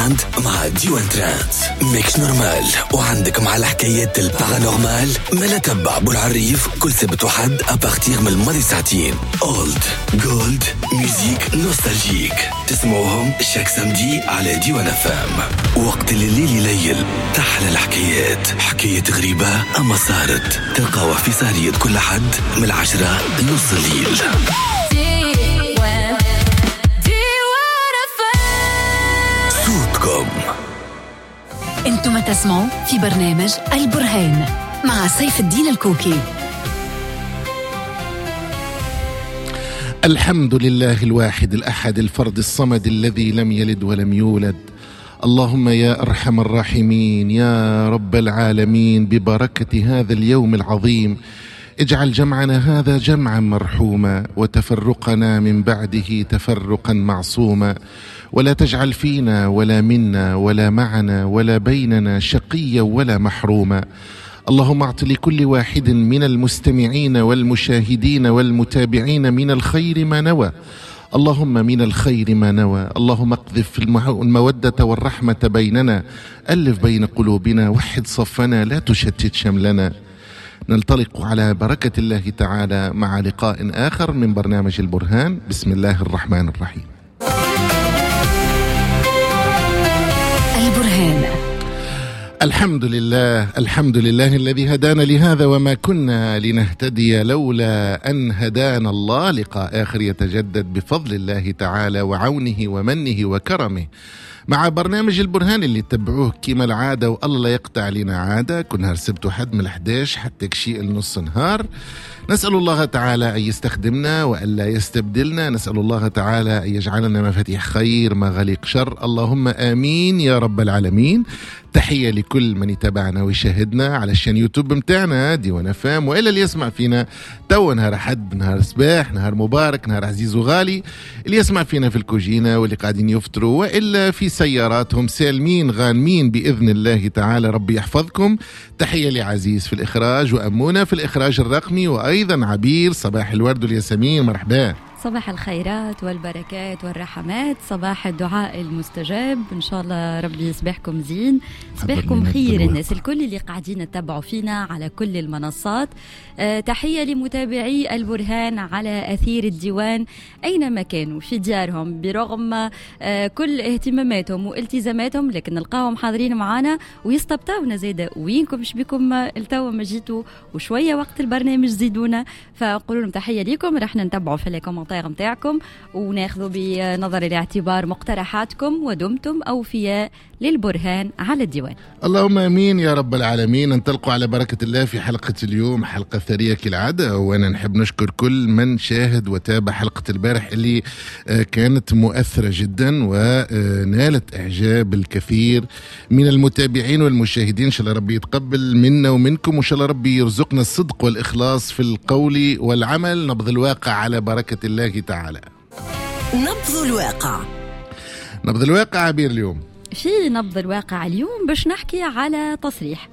week-end مع ديوان Trends. ماكش normal وعندك مع الحكايات ال paranormal، ما تبع بالعريف كل سبت وحد à partir من الماضي ساعتين. old gold musique nostalgique تسمعوهم chaque samedi على ديوان FM. وقت اللي الليل يليل تحلى الحكايات، حكاية غريبة اما صارت، تلقاوها في سهرية كل حد من 10 لنص الليل. صوتكم انتم تسمعوا في برنامج البرهان مع سيف الدين الكوكي. الحمد لله الواحد الأحد الفرد الصمد الذي لم يلد ولم يولد. اللهم يا أرحم الراحمين يا رب العالمين، ببركة هذا اليوم العظيم اجعل جمعنا هذا جمعا مرحوما، وتفرقنا من بعده تفرقا معصوما، ولا تجعل فينا ولا منا ولا معنا ولا بيننا شقيا ولا محروما. اللهم اعط لكل واحد من المستمعين والمشاهدين والمتابعين من الخير ما نوى، اللهم من الخير ما نوى. اللهم اقذف المودة والرحمة بيننا، ألف بين قلوبنا، وحد صفنا، لا تشتت شملنا. ننطلق على بركة الله تعالى مع لقاء آخر من برنامج البرهان. بسم الله الرحمن الرحيم. البرهان. الحمد لله، الحمد لله الذي هدانا لهذا وما كنا لنهتدي لولا أن هدانا الله. لقاء آخر يتجدد بفضل الله تعالى وعونه ومنه وكرمه مع برنامج البرهان اللي تتبعوه كما العادة، والله لا يقطع لنا عادة. كل نهار سبت وحد من 11 حتى كشيء النص نهار. نسأل الله تعالى أن يستخدمنا وألا يستبدلنا، نسأل الله تعالى أن يجعلنا مفاتيح خير مغاليق شر. اللهم آمين يا رب العالمين. تحية لكل من يتابعنا ويشاهدنا على ال chaîne YouTube متاعنا ديوان FM، وإلا اللي يسمع فينا تو نهار حد، نهار صباح، نهار مبارك، نهار عزيز وغالي، اللي يسمع فينا في الكوجينة واللي قاعدين يفطروا وإلا في سياراتهم، سالمين غانمين بإذن الله تعالى، ربي يحفظكم. تحية لعزيز في الإخراج وأمونة في الإخراج الرقمي، وأيضا عبير. صباح الورد والياسمين، مرحبا. صباح الخيرات والبركات والرحمات، صباح الدعاء المستجاب، إن شاء الله ربي يصبحكم زين، صباحكم خير الناس الكل اللي قاعدين تتبعوا فينا على كل المنصات. تحية لمتابعي البرهان على أثير الديوان أينما كانوا في ديارهم، برغم كل اهتماماتهم والتزاماتهم، لكن نلقاهم حاضرين معنا ويستبطاونا زيادة. وينكم شبيكم التوا ما جيتوا وشوية وقت البرنامج زيدونا، فنقول لهم تحية لكم. رح نتبعوا في les commentaires متاعكم وناخذوا بنظر الاعتبار مقترحاتكم، ودمتم أوفياء للبرهان على الديوان. اللهم امين يا رب العالمين. ننطلق على بركة الله في حلقة اليوم، حلقة ثرية كالعادة، وانا نحب نشكر كل من شاهد وتابع حلقة البارح اللي كانت مؤثرة جدا ونالت اعجاب الكثير من المتابعين والمشاهدين. ان شاء الله ربي يتقبل منا ومنكم، وان شاء الله ربي يرزقنا الصدق والإخلاص في القول والعمل. نبض الواقع على بركة الله تعالى. نبض الواقع، نبض الواقع عبير اليوم. في نبض الواقع اليوم باش نحكي على تصريح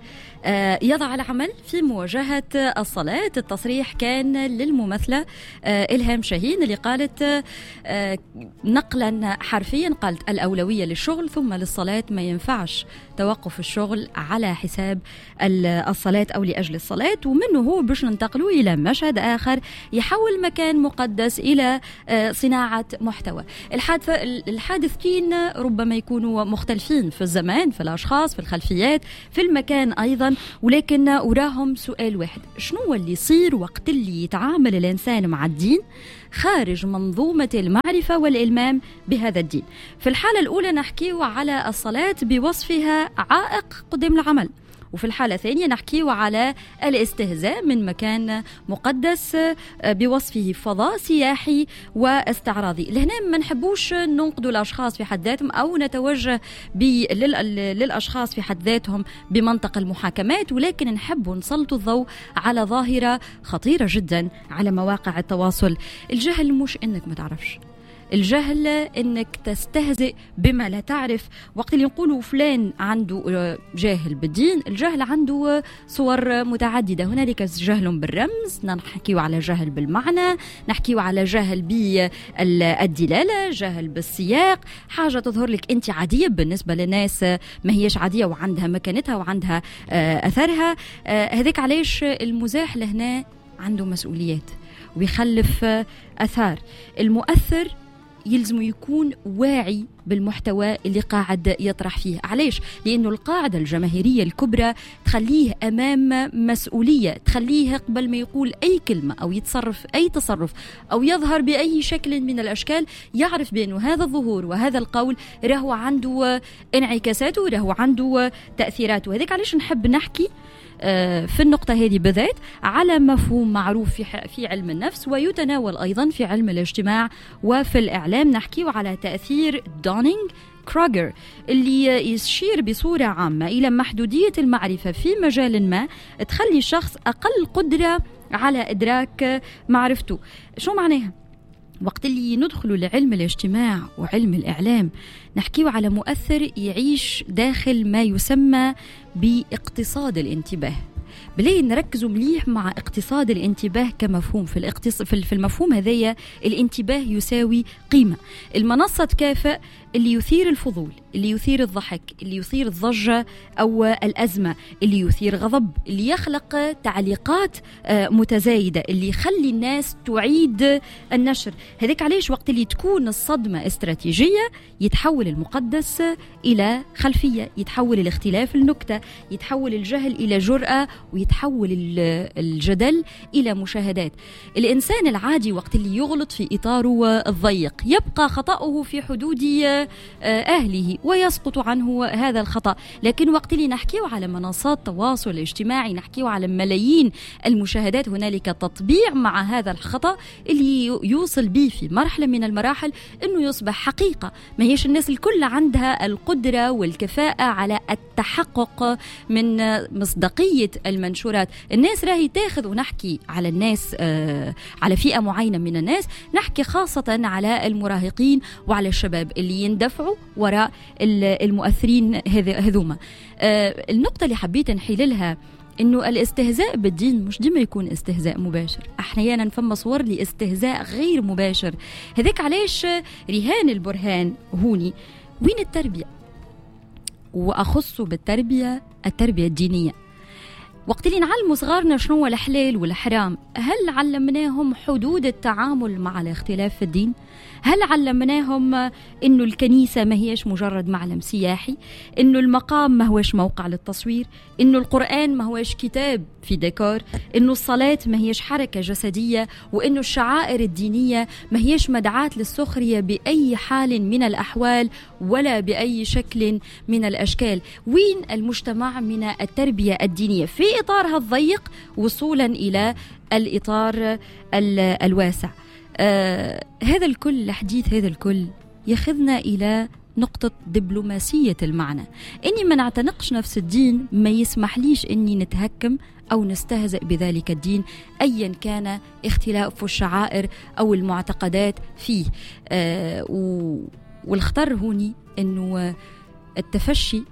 يضع العمل في مواجهة الصلاة. التصريح كان للممثلة إلهام شاهين اللي قالت نقلا حرفيا، قالت الأولوية للشغل ثم للصلاة، ما ينفعش توقف الشغل على حساب الصلاة أو لأجل الصلاة. ومنه هو باش ننتقلوا إلى مشهد آخر يحول مكان مقدس إلى صناعة محتوى. الحادثتين ربما يكونوا مختلفين في الزمان، في الأشخاص، في الخلفيات، في المكان أيضا، ولكن وراهم سؤال واحد: شنو اللي يصير وقت اللي يتعامل الإنسان مع الدين خارج منظومة المعرفة والإلمام بهذا الدين؟ في الحالة الأولى نحكيه على الصلاة بوصفها عائق قدام العمل، وفي الحالة الثانية نحكيه على الاستهزاء من مكان مقدس بوصفه فضاء سياحي واستعراضي. لهنا ما نحبوش ننقدوا الأشخاص في حد ذاتهم أو نتوجه للأشخاص في حد ذاتهم بمنطق المحاكمات، ولكن نحب نسلط الضوء على ظاهرة خطيرة جدا على مواقع التواصل. الجهل مش إنك ما تعرفش، الجهل انك تستهزئ بما لا تعرف. وقت اللي نقولوا فلان عنده جاهل بالدين، الجهل عنده صور متعددة. هنالك جهل بالرمز، نحكيو على جهل بالمعنى، نحكيو على جهل بالدلالة، جهل بالسياق. حاجة تظهر لك انت عادية بالنسبة للناس ما هيش عادية وعندها مكانتها وعندها أثرها. هذاك علاش المزاح لهنا عنده مسؤوليات ويخلف أثار. المؤثر يلزم يكون واعي بالمحتوى اللي قاعد يطرح فيه. علاش؟ لأنه القاعدة الجماهيرية الكبرى تخليه أمام مسؤولية، تخليه قبل ما يقول أي كلمة أو يتصرف أي تصرف أو يظهر بأي شكل من الأشكال يعرف بأنه هذا الظهور وهذا القول راهو عنده انعكاساته، راهو عنده تأثيراته. هذيك علاش نحب نحكي في النقطة هذه بالذات على مفهوم معروف في علم النفس ويتناول أيضا في علم الاجتماع وفي الإعلام. نحكي على تأثير دونينغ كروجر اللي يشير بصورة عامة إلى محدودية المعرفة في مجال ما تخلي الشخص أقل قدرة على إدراك معرفته. شو معناها؟ وقت اللي ندخلوا لعلم الاجتماع وعلم الإعلام نحكيه على مؤثر يعيش داخل ما يسمى باقتصاد الانتباه. بلي نركزوا مليح مع اقتصاد الانتباه كمفهوم. في المفهوم هذايا الانتباه يساوي قيمة. المنصة تكافئ اللي يثير الفضول، اللي يثير الضحك، اللي يثير الضجة أو الأزمة، اللي يثير غضب، اللي يخلق تعليقات متزايدة، اللي يخلي الناس تعيد النشر. هذاك علاش وقت اللي تكون الصدمة استراتيجية يتحول المقدس إلى خلفية، يتحول الاختلاف لنكتة، يتحول الجهل إلى جرأة، ويتحول الجدل إلى مشاهدات. الإنسان العادي وقت اللي يغلط في إطاره الضيق يبقى خطأه في حدود أهله ويسقط عنه هذا الخطأ، لكن وقت اللي نحكيه على منصات التواصل الاجتماعي، نحكيه على ملايين المشاهدات، هنالك تطبيع مع هذا الخطأ اللي يوصل به في مرحلة من المراحل أنه يصبح حقيقة. ما هيش الناس الكل عندها القدرة والكفاءة على التحقق من مصداقية المنشورات. الناس راهي تاخذ، ونحكي على الناس على فئة معينة من الناس، نحكي خاصة على المراهقين وعلى الشباب اللي يندفعوا وراء المؤثرين هذوما. النقطة اللي حبيت نحيل لها إنه الاستهزاء بالدين مش ديما يكون استهزاء مباشر، أحيانا فما صور لاستهزاء غير مباشر. هذاك علاش رهان البرهان هوني وين التربية، وأخص بالتربية التربية الدينية. وقت اللي نعلموا صغارنا شنو هو الحلال والحرام، هل علمناهم حدود التعامل مع الاختلاف في الدين؟ هل علمناهم إنه الكنيسة ما هيش مجرد معلم سياحي، إنه المقام ما هوش موقع للتصوير، إنه القرآن ما هوش كتاب في ديكور، إنه الصلاة ما هيش حركة جسدية، وإنه الشعائر الدينية ما هيش مدعاة للسخرية بأي حال من الأحوال ولا بأي شكل من الأشكال؟ وين المجتمع من التربية الدينية في إطارها الضيق وصولا إلى الإطار الواسع؟ هذا الكل الحديث، هذا الكل يخذنا إلى نقطة دبلوماسية المعنى. إني ما نعتنقش نفس الدين ما يسمح ليش إني نتهكم أو نستهزئ بذلك الدين أيا كان اختلاف الشعائر أو المعتقدات فيه. والخطر هوني إنه التفشي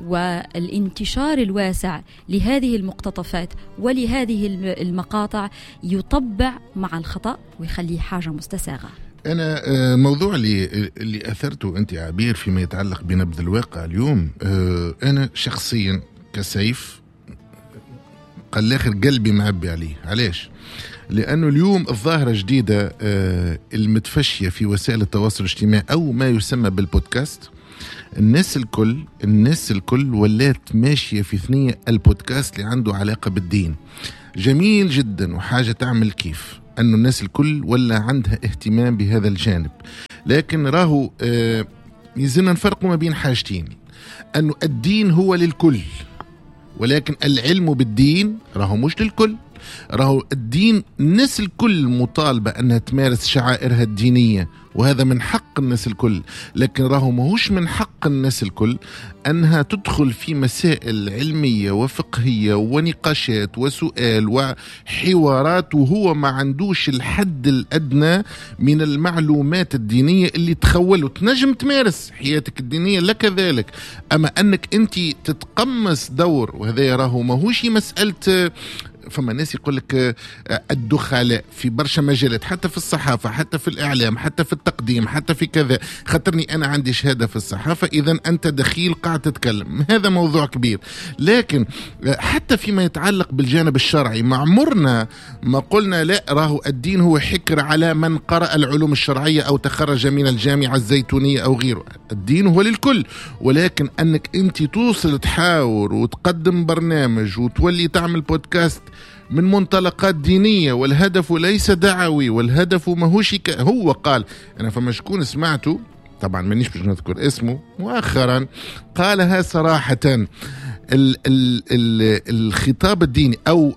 والانتشار الواسع لهذه المقتطفات ولهذه المقاطع يطبع مع الخطأ ويخليه حاجة مستساغة. أنا الموضوع اللي أثرته أنت عبير فيما يتعلق بنبذ الواقع اليوم، أنا شخصيا كسيف قال الآخر قلبي معبي عليه. علاش؟ لأنه اليوم الظاهرة جديدة المتفشية في وسائل التواصل الاجتماعي أو ما يسمى بالبودكاست. الناس الكل ولات ماشية في ثنية البودكاست اللي عنده علاقة بالدين. جميل جدا وحاجة تعمل كيف أنه الناس الكل ولا عندها اهتمام بهذا الجانب، لكن راهو يلزمنا نفرق ما بين حاجتين، أنه الدين هو للكل ولكن العلم بالدين راهو مش للكل. راهو الدين الناس الكل مطالبة أنها تمارس شعائرها الدينية، وهذا من حق الناس الكل، لكن راهو ماهوش من حق الناس الكل أنها تدخل في مسائل علمية وفقهية ونقاشات وسؤال وحوارات وهو ما عندوش الحد الأدنى من المعلومات الدينية اللي تخوله. تنجم تمارس حياتك الدينية لك ذلك، أما أنك أنت تتقمص دور، وهذا راهو ماهوش مسألة. فما ناس يقول لك الدخلاء في برشا مجالات، حتى في الصحافة، حتى في الإعلام، حتى في التقديم، حتى في كذا، خاطرني أنا عندي شهادة في الصحافة إذا أنت دخيل قاعد تتكلم. هذا موضوع كبير. لكن حتى فيما يتعلق بالجانب الشرعي ما عمرنا ما قلنا لا راهو الدين هو حكر على من قرأ العلوم الشرعية أو تخرج من الجامعة الزيتونية أو غيره. الدين هو للكل، ولكن أنك أنت توصل تحاور وتقدم برنامج وتولي تعمل بودكاست من منطلقات دينية، والهدف ليس دعوي، والهدف ماهوش هو قال. أنا فما شكون سمعته، طبعا مانيش باش نذكر اسمه، مؤخرا قالها صراحة، ال ال ال الخطاب الديني أو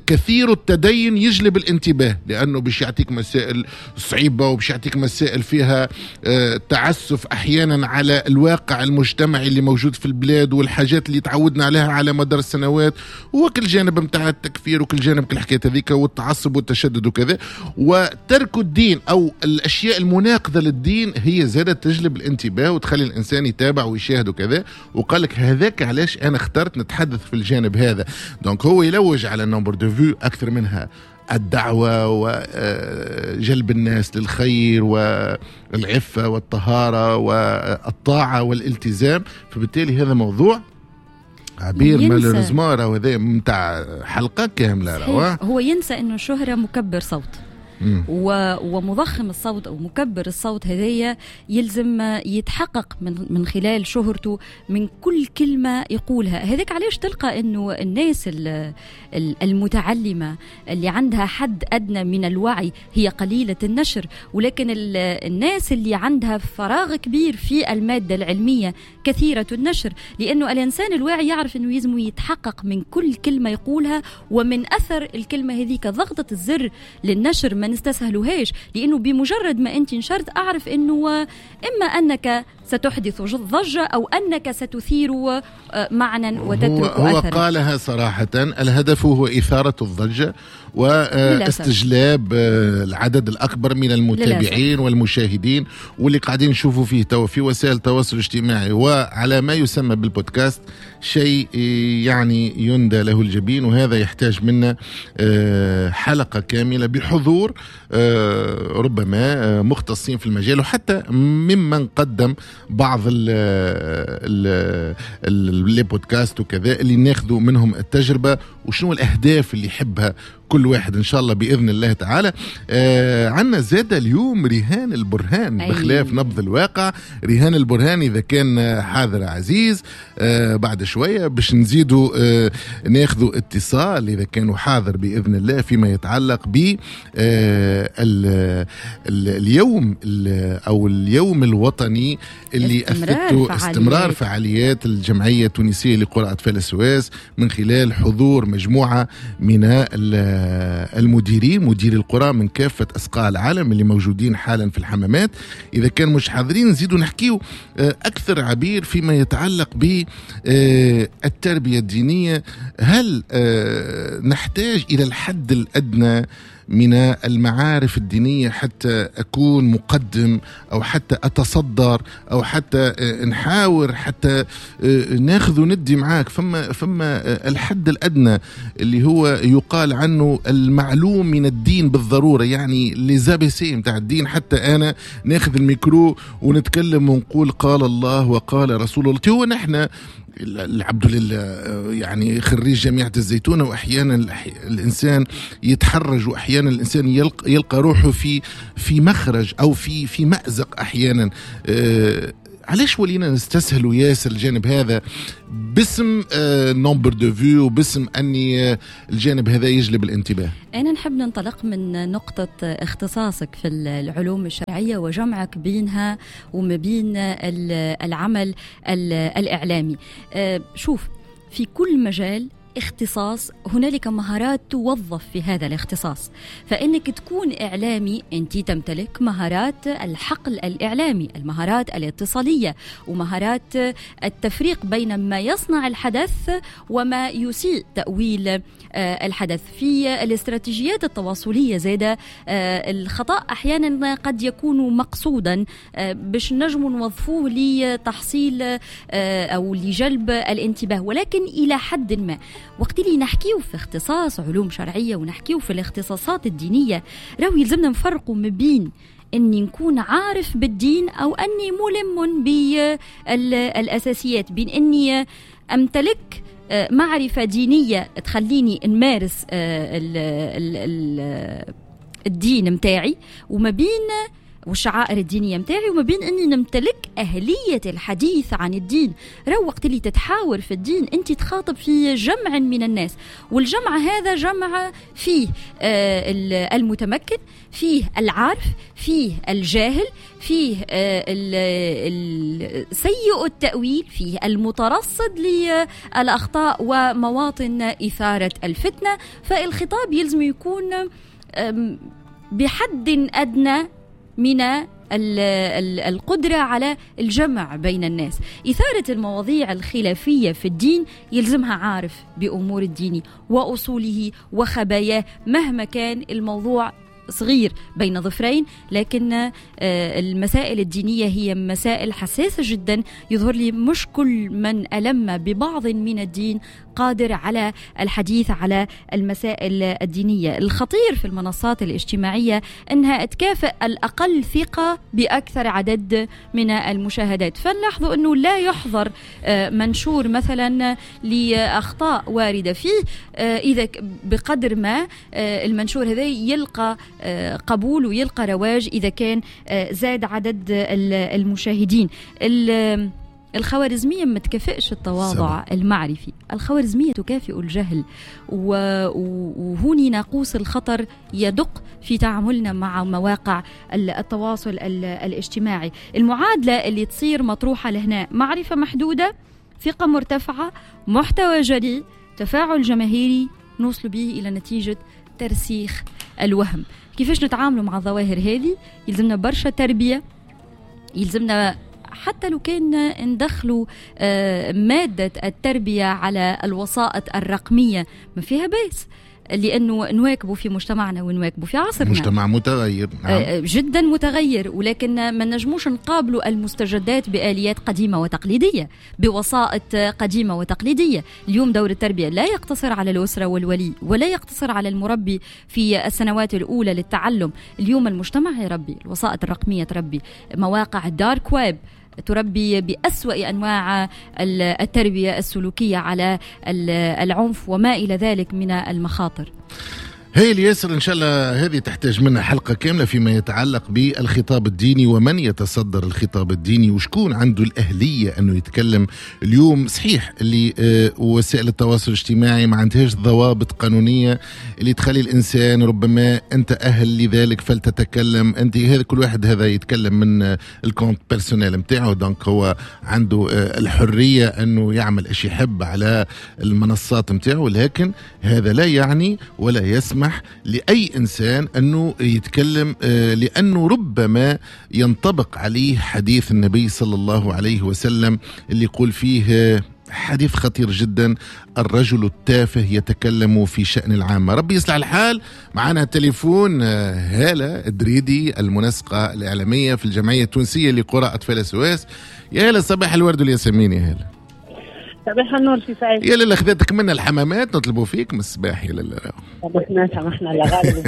كثير التدين يجلب الانتباه، لأنه باش يعطيك مسائل صعيبة وباش يعطيك مسائل فيها تعسف أحيانا على الواقع المجتمعي اللي موجود في البلاد والحاجات اللي تعودنا عليها على مدار السنوات، وكل جانب متاع التكفير وكل جانب كل حكاية هذيك والتعصب والتشدد وكذا، وترك الدين أو الأشياء المناقضة للدين هي زادت تجلب الانتباه وتخلي الإنسان يتابع ويشاهد وكذا. وقال لك هذاك علاش أنا اخترت نتحدث في الجانب هذا. donc هو يلوج على nombre de vues أكثر منها الدعوة وجلب الناس للخير والعفة والطهارة والطاعة والالتزام. فبالتالي هذا موضوع عبير malheureusement راهو هذا متاع حلقة كاملة. هو ينسى أنه الشهرة مكبر صوت ومضخم الصوت أو مكبر الصوت، هذايا يلزم يتحقق من خلال شهرته من كل كلمة يقولها. هذاك علاش تلقى أنه الناس المتعلمة اللي عندها حد أدنى من الوعي هي قليلة النشر، ولكن الناس اللي عندها فراغ كبير في المادة العلمية كثيرة النشر، لأنه الإنسان الواعي يعرف أنه يلزم يتحقق من كل كلمة يقولها ومن أثر الكلمة هذيك. ضغطة الزر للنشر ما نستسهلوهاش، لأنه بمجرد ما أنت نشرت أعرف أنه إما أنك ستحدث ضجة أو أنك ستثير معنى وتترك أثرا. هو قالها صراحة، الهدف هو إثارة الضجة واستجلاب العدد الأكبر من المتابعين للأسف. والمشاهدين، واللي قاعدين نشوفوا فيه تو في وسائل التواصل الاجتماعي وعلى ما يسمى بالبودكاست شيء يعني يندى له الجبين، وهذا يحتاج منا حلقة كاملة بحضور ربما مختصين في المجال، وحتى ممن قدم بعض les podcasts وكذا اللي ناخذوا منهم التجربة وشنو الأهداف اللي يحبها كل واحد إن شاء الله بإذن الله تعالى. عنا زادة اليوم رهان البرهان بخلاف نبض الواقع. رهان البرهان إذا كان حاضر عزيز بعد شوية باش نزيدوا ناخذوا اتصال إذا كانوا حاضر بإذن الله فيما يتعلق ب اليوم أو اليوم الوطني اللي أثبته استمرار فعاليات الجمعية التونسية لقرى أطفال السواس من خلال حضور مجموعة من المديرين، مدير القرى من كافة أصقاع العالم اللي موجودين حالا في الحمامات. إذا كان مش حاضرين نزيدوا نحكيو أكثر عبير فيما يتعلق بالتربية الدينية. هل نحتاج إلى الحد الأدنى من المعارف الدينية حتى أكون مقدم أو حتى أتصدر أو حتى نحاور حتى ناخذ وندي معاك؟ فما الحد الأدنى اللي هو يقال عنه المعلوم من الدين بالضرورة، يعني les ABC متاع الدين، حتى أنا ناخذ الميكرو ونتكلم ونقول قال الله وقال رسول الله. هو نحن العبد لله يعني خريج جامعة الزيتونة، وأحيانا الإنسان يتحرج، وأحيانا الإنسان يلقى روحه في مخرج أو في مأزق أحيانا. علاش ولينا نستسهلوا ياسر الجانب هذا باسم nombre de vues وباسم أني الجانب هذا يجلب الانتباه؟ أنا نحب ننطلق من نقطة اختصاصك في العلوم الشرعية وجمعك بينها وما بين العمل الإعلامي. شوف، في كل مجال اختصاص هنالك مهارات توظف في هذا الاختصاص. فإنك تكون إعلامي أنت تمتلك مهارات الحقل الإعلامي، المهارات الاتصالية، ومهارات التفريق بين ما يصنع الحدث وما يسيء تأويل الحدث. في الاستراتيجيات التواصلية زادة الخطأ أحيانا قد يكون مقصودا باش نجم نوظفوه لتحصيل أو لجلب الانتباه، ولكن إلى حد ما. وقت اللي نحكيو في اختصاص علوم شرعية ونحكيو في الاختصاصات الدينية، راهو يلزمنا نفرقوا ما بين أني نكون عارف بالدين أو أني ملم بالأساسيات، بين أني أمتلك معرفة دينية تخليني نمارس الدين متاعي وما بين والشعائر الدينية متاعي، وما بين أني نمتلك أهلية الحديث عن الدين. رو وقت اللي تتحاور في الدين أنت تخاطب في جمع من الناس، والجمع هذا جمع فيه المتمكن، فيه العارف، فيه الجاهل، فيه سيء التأويل، فيه المترصد للأخطاء ومواطن إثارة الفتنة. فالخطاب يلزم يكون بحد أدنى من القدرة على الجمع بين الناس. إثارة المواضيع الخلافية في الدين يلزمها عارف بأمور الدين وأصوله وخباياه، مهما كان الموضوع صغير بين ظفرين، لكن المسائل الدينية هي مسائل حساسة جدا. يظهر لي مش كل من ألم ببعض من الدين قادر على الحديث على المسائل الدينية. الخطير في المنصات الاجتماعية أنها تكافئ الأقل ثقة بأكثر عدد من المشاهدات. فنلاحظوا أنه لا يحضر منشور مثلا لأخطاء واردة فيه، إذا بقدر ما المنشور هذا يلقى قبول ويلقى رواج إذا كان زاد عدد المشاهدين. الخوارزمية ما تكافئش التواضع المعرفي، الخوارزمية تكافئ الجهل، وهوني ناقوس الخطر يدق في تعاملنا مع مواقع التواصل الاجتماعي. المعادلة اللي تصير مطروحة لهنا: معرفة محدودة، ثقة مرتفعة، محتوى جريء، تفاعل جماهيري، نوصل به إلى نتيجة ترسيخ الوهم. كيفاش نتعاملوا مع الظواهر هذه؟ يلزمنا برشا تربية، يلزمنا حتى لو كان ندخلوا مادة التربية على الوسائط الرقمية ما فيها بأس، لأنه نواكبه في مجتمعنا ونواكبه في عصرنا. مجتمع متغير، نعم. جدا متغير، ولكن ما نجموش نقابلوا المستجدات بآليات قديمة وتقليدية، بوسائط قديمة وتقليدية. اليوم دور التربية لا يقتصر على الأسرة والولي، ولا يقتصر على المربي في السنوات الأولى للتعلم. اليوم المجتمع يربي، الوسائط الرقمية تربي، مواقع ال dark web تربي بأسوأ أنواع التربية السلوكية على العنف وما إلى ذلك من المخاطر. هاي ياسر، إن شاء الله هذه تحتاج منا حلقة كاملة فيما يتعلق بالخطاب الديني ومن يتصدر الخطاب الديني وشكون عنده الأهلية أنه يتكلم. اليوم صحيح اللي وسائل التواصل الاجتماعي ما عندهاش ضوابط قانونية اللي تخلي الإنسان ربما أنت أهل لذلك فلتتكلم أنت، هذا كل واحد هذا يتكلم من ال compte personnel متاعه، donc هو عنده الحرية أنه يعمل إيش يحب على المنصات متاعه، لكن هذا لا يعني ولا يسمح لأي إنسان أنه يتكلم، لأنه ربما ينطبق عليه حديث النبي صلى الله عليه وسلم اللي يقول فيه حديث خطير جدا: الرجل التافه يتكلم في شأن العامة. ربي يصلح الحال. معنا التليفون هالة الدريدي، المنسقة الإعلامية في الجمعية التونسية لقرى أطفال SOS. يا هالة، صباح الورد والياسمين. يا هالة صباح النور في سعيد. يا لله خذتك منا الحمامات، نطلبوا فيك من الصباح. يا لله سامحنا لا غالب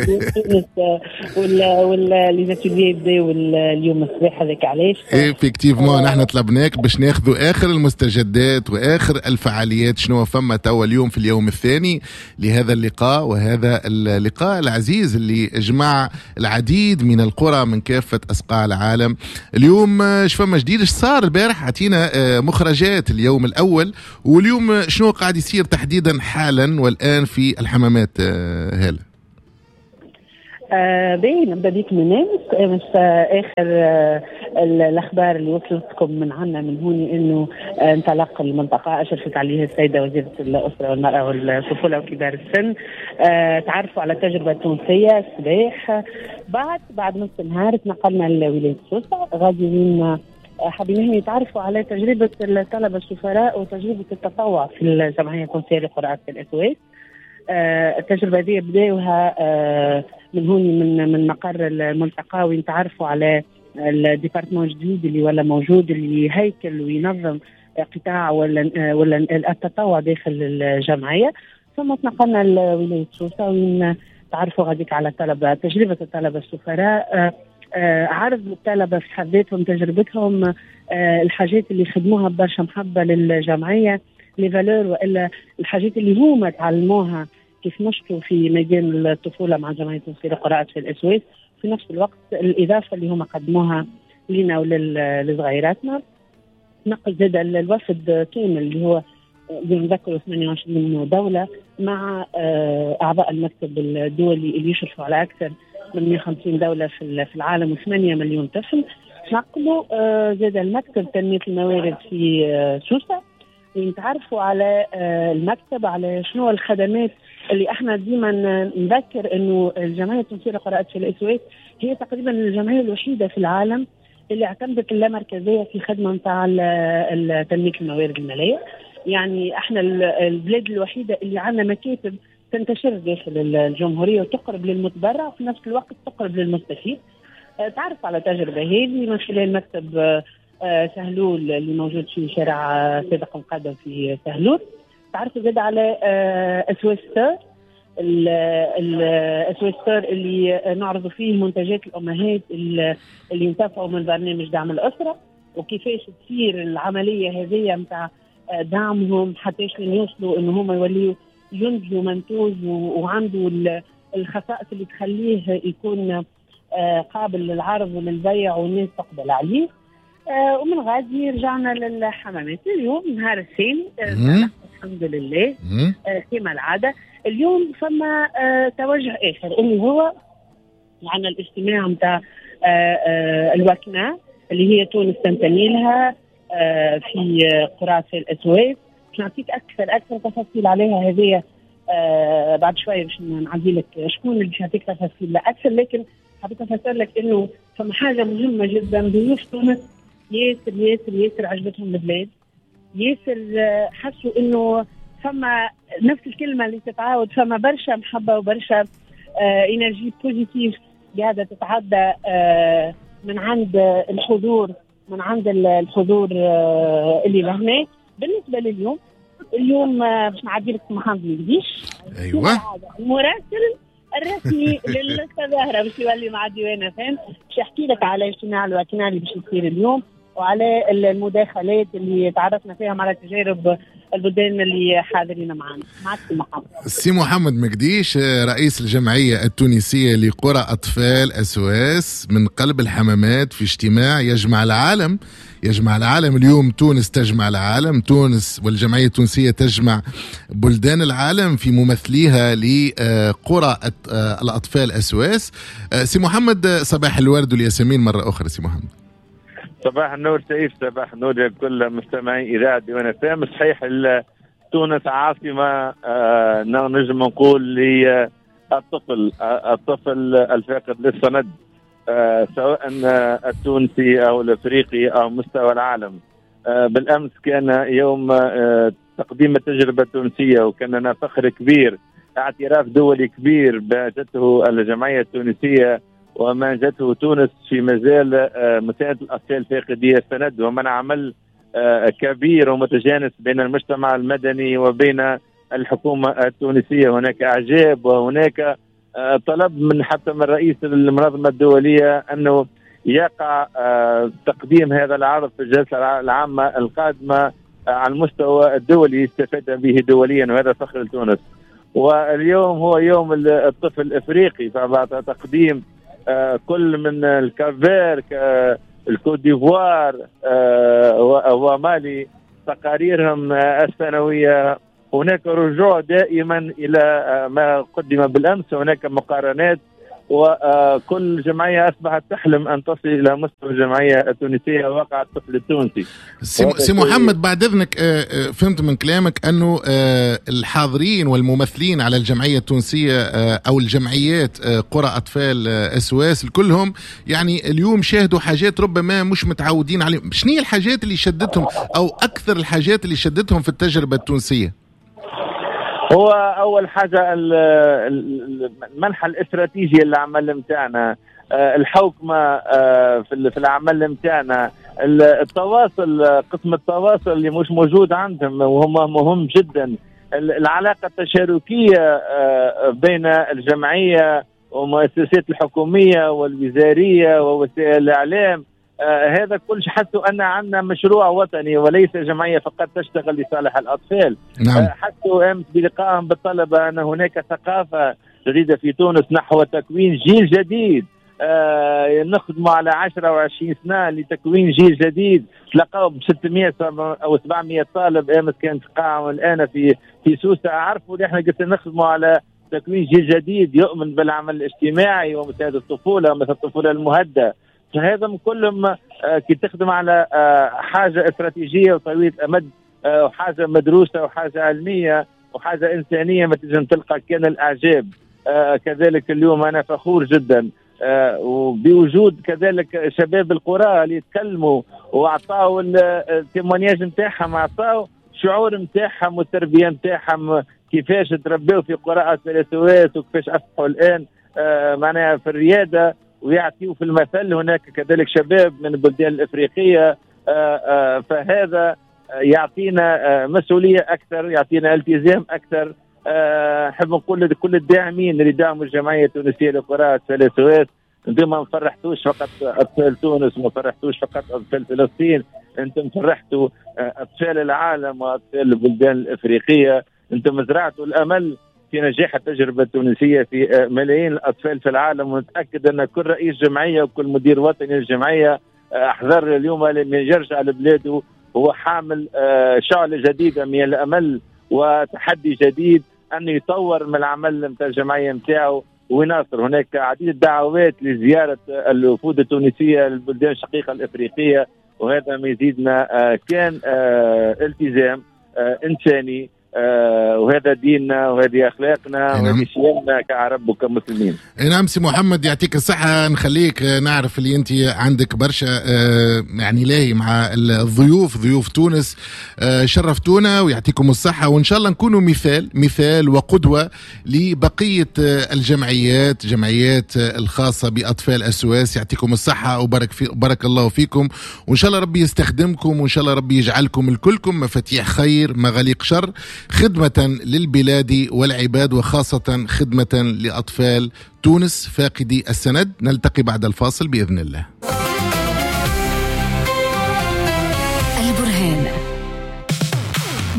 ولا les ateliers يبداو اليوم الصباح، هذاك علاش effectivement نحن طلبناك باش ناخذوا اخر المستجدات واخر الفعاليات، شنو فما توا اليوم في اليوم الثاني لهذا اللقاء، وهذا اللقاء العزيز اللي جمع العديد من القرى من كافة أصقاع العالم. اليوم اش فما جديد؟ اش صار البارح؟ عطينا مخرجات اليوم الأول، واليوم شنو قاعد يصير تحديدا حالا والآن في الحمامات هالة؟ باهي، نبدا بك من امس. اخر الاخبار اللي وصلتكم من عنا من هوني انه انطلق المنطقة اشرفت عليه السيدة وزيره الاسرة والمراة والطفوله وكبار السن. تعرفوا على التجربة التونسية الصباح. بعد نص النهار تنقلنا لولاية سوسة، غادي وين حابين يتعرفوا على تجربه الطلبة السفراء وتجربه التطوع في الجمعية التونسية لقرى اطفال SOS. التجربة هذه بداوها من هون من مقر الملتقى، وين تعرفوا على ال département الجديد اللي ولا موجود، اللي هيكل وينظم قطاع ولا التطوع داخل الجمعية. ثم تنقلنا لولاية سوسة وين تعرفوا غاديك على الطلبة، تجربه الطلبة السفراء، عرض الطلبة في حد ذاتهم تجربتهم، الحاجات اللي خدموها برشا محبة للجمعية، les valeurs والا الحاجات اللي هما تعلموها كيف نشطوا في ميدان الطفولة مع جمعية التونسية لقراءة في ال SOS. في نفس الوقت الاضافة اللي هما قدموها لنا ولصغيراتنا. نقل زاد الوفد كامل اللي هو بنذكروا 28 دولة مع اعضاء المكتب الدولي اللي يشرفوا على اكثر من 150 دولة في العالم و8 مليون طفل. نقلوا زاد المكتب تنمية الموارد في سوسة، ونتعرفوا على المكتب، على شنو الخدمات اللي احنا ديما نذكر انه الجمعية التونسية لقراءة في ال SOS هي تقريبا الجمعية الوحيدة في العالم اللي اعتمدت اللامركزيه في خدمة نتاع تنمية الموارد المالية. يعني احنا البلاد الوحيدة اللي عندنا مكاتب تنتشر داخل الجمهورية وتقرب للمتبرع وفي نفس الوقت تقرب للمستفيد. تعرف على التجربة هذه من خلال مكتب سهلول اللي موجود في شارع صادق مقدم في سهلول. تعرفوا زاد على SOS Store، ال SOS Store اللي نعرض فيه منتجات الامهات اللي ينتفعوا من برنامج دعم الاسرة، وكيفاش تصير العملية هذه نتاع دعمهم حتى يوصلوا ان هم يوليوا ينتجوا منتوج وعنده الخصائص اللي تخليه يكون قابل للعرض وللبيع والناس تقبل عليه. ومن غادي رجعنا للحمامات. اليوم نهار الثاني الحمد لله كما العادة. اليوم فما توجه آخر اللي هو عندنا الاجتماع نتاع الوكنة اللي هي تونس تنتمي لها في قرى ال SOS. باش نعطيك اكثر تفاصيل عليها هذه بعد شوية، باش نعدي لك شكون اللي باش يعطيك تفاصيل اكثر، لكن حبيت افسر لك انه فما حاجة مهمة جدا. ضيوف تونس ياسر ياسر ياسر عجبتهم البلاد، ياسر حسوا انه فما نفس الكلمة اللي تتعاود، فما برشا محبة وبرشا énergie positive قاعدة تتعدى من عند الحضور، من عند الحضور اللي لهنا. بالنسبة لليوم، اليوم باش نعدي لك محمد مقديش، ايوه المراسل الرسمي للتظاهره باش يولي مع ديوان فهم، باش يحكي لك على اجتماع الوكنة اللي باش يصير اليوم وعلى المداخلات اللي تعرفنا فيها على تجارب البلدان اللي حاضرين معنا. معك سي محمد. سي محمد مقديش، رئيس الجمعية التونسية لقرى أطفال SOS من قلب الحمامات، في اجتماع يجمع العالم، يجمع العالم اليوم. تونس تجمع العالم، تونس والجمعية التونسية تجمع بلدان العالم في ممثليها لقرى الأطفال SOS. سي محمد، صباح الورد والياسمين مرة أخرى. سي محمد، صباح النور سيف، صباح النور لكل مستمعي إذاعة ديوان FM. صحيح تونس عاصمة نجم نقول للطفل، الطفل الفاقد للسند، سواء التونسي أو الأفريقي أو مستوى العالم. بالأمس كان يوم تقديم التجربة التونسية، وكان لنا فخر كبير، اعتراف دولي كبير بجته الجمعية التونسية وما جاته تونس في مجال مساعدة الأطفال فاقدي السند، ومن عمل كبير ومتجانس بين المجتمع المدني وبين الحكومة التونسية. هناك إعجاب وهناك طلب من حتى من رئيس المنظمة الدولية أنه يقع تقديم هذا العرض في الجلسة العامة القادمة على المستوى الدولي يستفاد به دوليا، وهذا فخر لتونس. واليوم هو يوم الطفل الإفريقي، فبعد تقديم كل من ال Cap-Vert، الكوت ديفوار ومالي تقاريرهم السنوية، هناك رجوع دائما إلى ما قدم بالأمس، هناك مقارنات وكل جمعية أصبحت تحلم أن تصل إلى مستوى الجمعية التونسية وقع الطفل التونسي. سي محمد بعد إذنك، فهمت من كلامك أنه الحاضرين والممثلين على الجمعية التونسية أو الجمعيات قرى أطفال SOS كلهم يعني اليوم شاهدوا حاجات ربما مش متعودين عليهم. شنو هي الحاجات اللي شدتهم أو أكثر الحاجات اللي شدتهم في التجربة التونسية؟ هو أول حاجة المنحى الاستراتيجي للعمل متاعنا، الحوكمة في العمل متاعنا، التواصل، قسم التواصل اللي مش موجود عندهم وهم مهم جدا، العلاقة التشاركية بين الجمعية ومؤسسات الحكومية والوزارية ووسائل الإعلام. هذا كل حسوا أن عندنا مشروع وطني وليس جمعية فقط تشتغل لصالح الأطفال. نعم. حسوا أمس بلقائهم بالطلبة أن هناك ثقافة جديدة في تونس نحو تكوين جيل جديد. نخدموا على 10 و20 سنة لتكوين جيل جديد. تلقاو ب 600 أو 700 طالب أمس كانت قاعة الآن في سوسة. عرفوا اللي احنا قلت نخدموا على تكوين جيل جديد يؤمن بالعمل الاجتماعي ومساعدة الطفولة مثل الطفولة المهدة. فهذا كلهم كي تخدم على حاجة استراتيجية وطويلة الأمد وحاجة مدروسة وحاجة علمية وحاجة إنسانية ما تنجم تلقى كان الأعجاب. كذلك اليوم أنا فخور جدا وبوجود كذلك شباب القرى اللي يتكلموا وأعطاوا ال témoignage نتاعهم، أعطاوا شعور نتاعهم والتربية نتاعهم، كيفاش تربيوا في قرى SOS وكيفاش أصبحوا الآن معناها في الريادة ويعطيوا في المثل. هناك كذلك شباب من البلدان الإفريقية. فهذا يعطينا مسؤولية أكثر، يعطينا التزام أكثر. نحب نقول لكل الداعمين اللي دعموا الجمعية التونسية لقراءة SOS، انتم ما فرحتوش فقط أطفال تونس، ما فرحتوش فقط أطفال فلسطين، انتم فرحتوا أطفال العالم وأطفال البلدان الإفريقية. انتم زرعتوا الأمل في نجاح التجربة التونسية في ملايين الأطفال في العالم. ونتأكد أن كل رئيس جمعية وكل مدير وطني للجمعية أحضر اليوم لما يرجع لبلاده هو حامل شعلة جديدة من الأمل وتحدي جديد أن يطور من العمل نتاع الجمعية نتاعو ويناصر. هناك عديد الدعوات لزيارة الوفود التونسية للبلدان الشقيقة الإفريقية، وهذا ما يزيدنا كان التزام إنساني، وهذا ديننا وهذه أخلاقنا وهذه شيمنا كعرب وكمسلمين. نعم سي محمد يعطيك الصحة. نخليك، نعرف اللي أنت عندك برشا يعني لاهي مع الضيوف، ضيوف تونس شرفتونا ويعطيكم الصحة، وإن شاء الله نكونوا مثال وقدوة لبقية الجمعيات، جمعيات الخاصة بأطفال SOS. يعطيكم الصحة وبارك الله فيكم، وإن شاء الله ربي يستخدمكم، وإن شاء الله ربي يجعلكم الكلكم مفاتيح خير مغاليق شر، خدمة للبلاد والعباد، وخاصة خدمة لأطفال تونس فاقدي السند. نلتقي بعد الفاصل بإذن الله. البرهان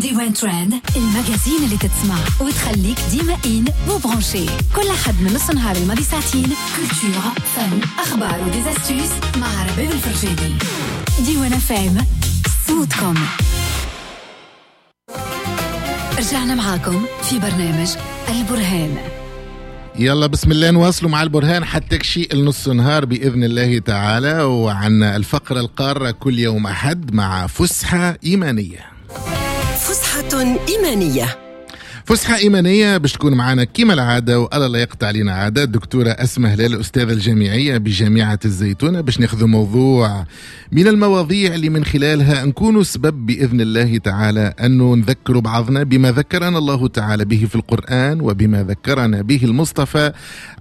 ديوان ترند، ال magazine اللي تتسمع وتخليك ديما in و branché، كل حد من نص نهار الماضي ساعتين، culture، فن، أخبار و des astuces مع رباب الفرجاني. ديوان FM صوتكم. رجعنا معاكم في برنامج البرهان. يلا بسم الله نواصلوا مع البرهان حتى كشي النص نهار بإذن الله تعالى، وعن الفقرة القارة كل يوم أحد مع فسحة إيمانية. فسحة إيمانية، فسحة إيمانية باش تكون معنا كما العادة، والله لا يقطع علينا عادة، الدكتورة أسماء هلال الأستاذة الجامعية بجامعة الزيتونة، باش ناخذ موضوع من المواضيع اللي من خلالها نكون سبب بإذن الله تعالى أنه نذكر بعضنا بما ذكرنا الله تعالى به في القرآن، وبما ذكرنا به المصطفى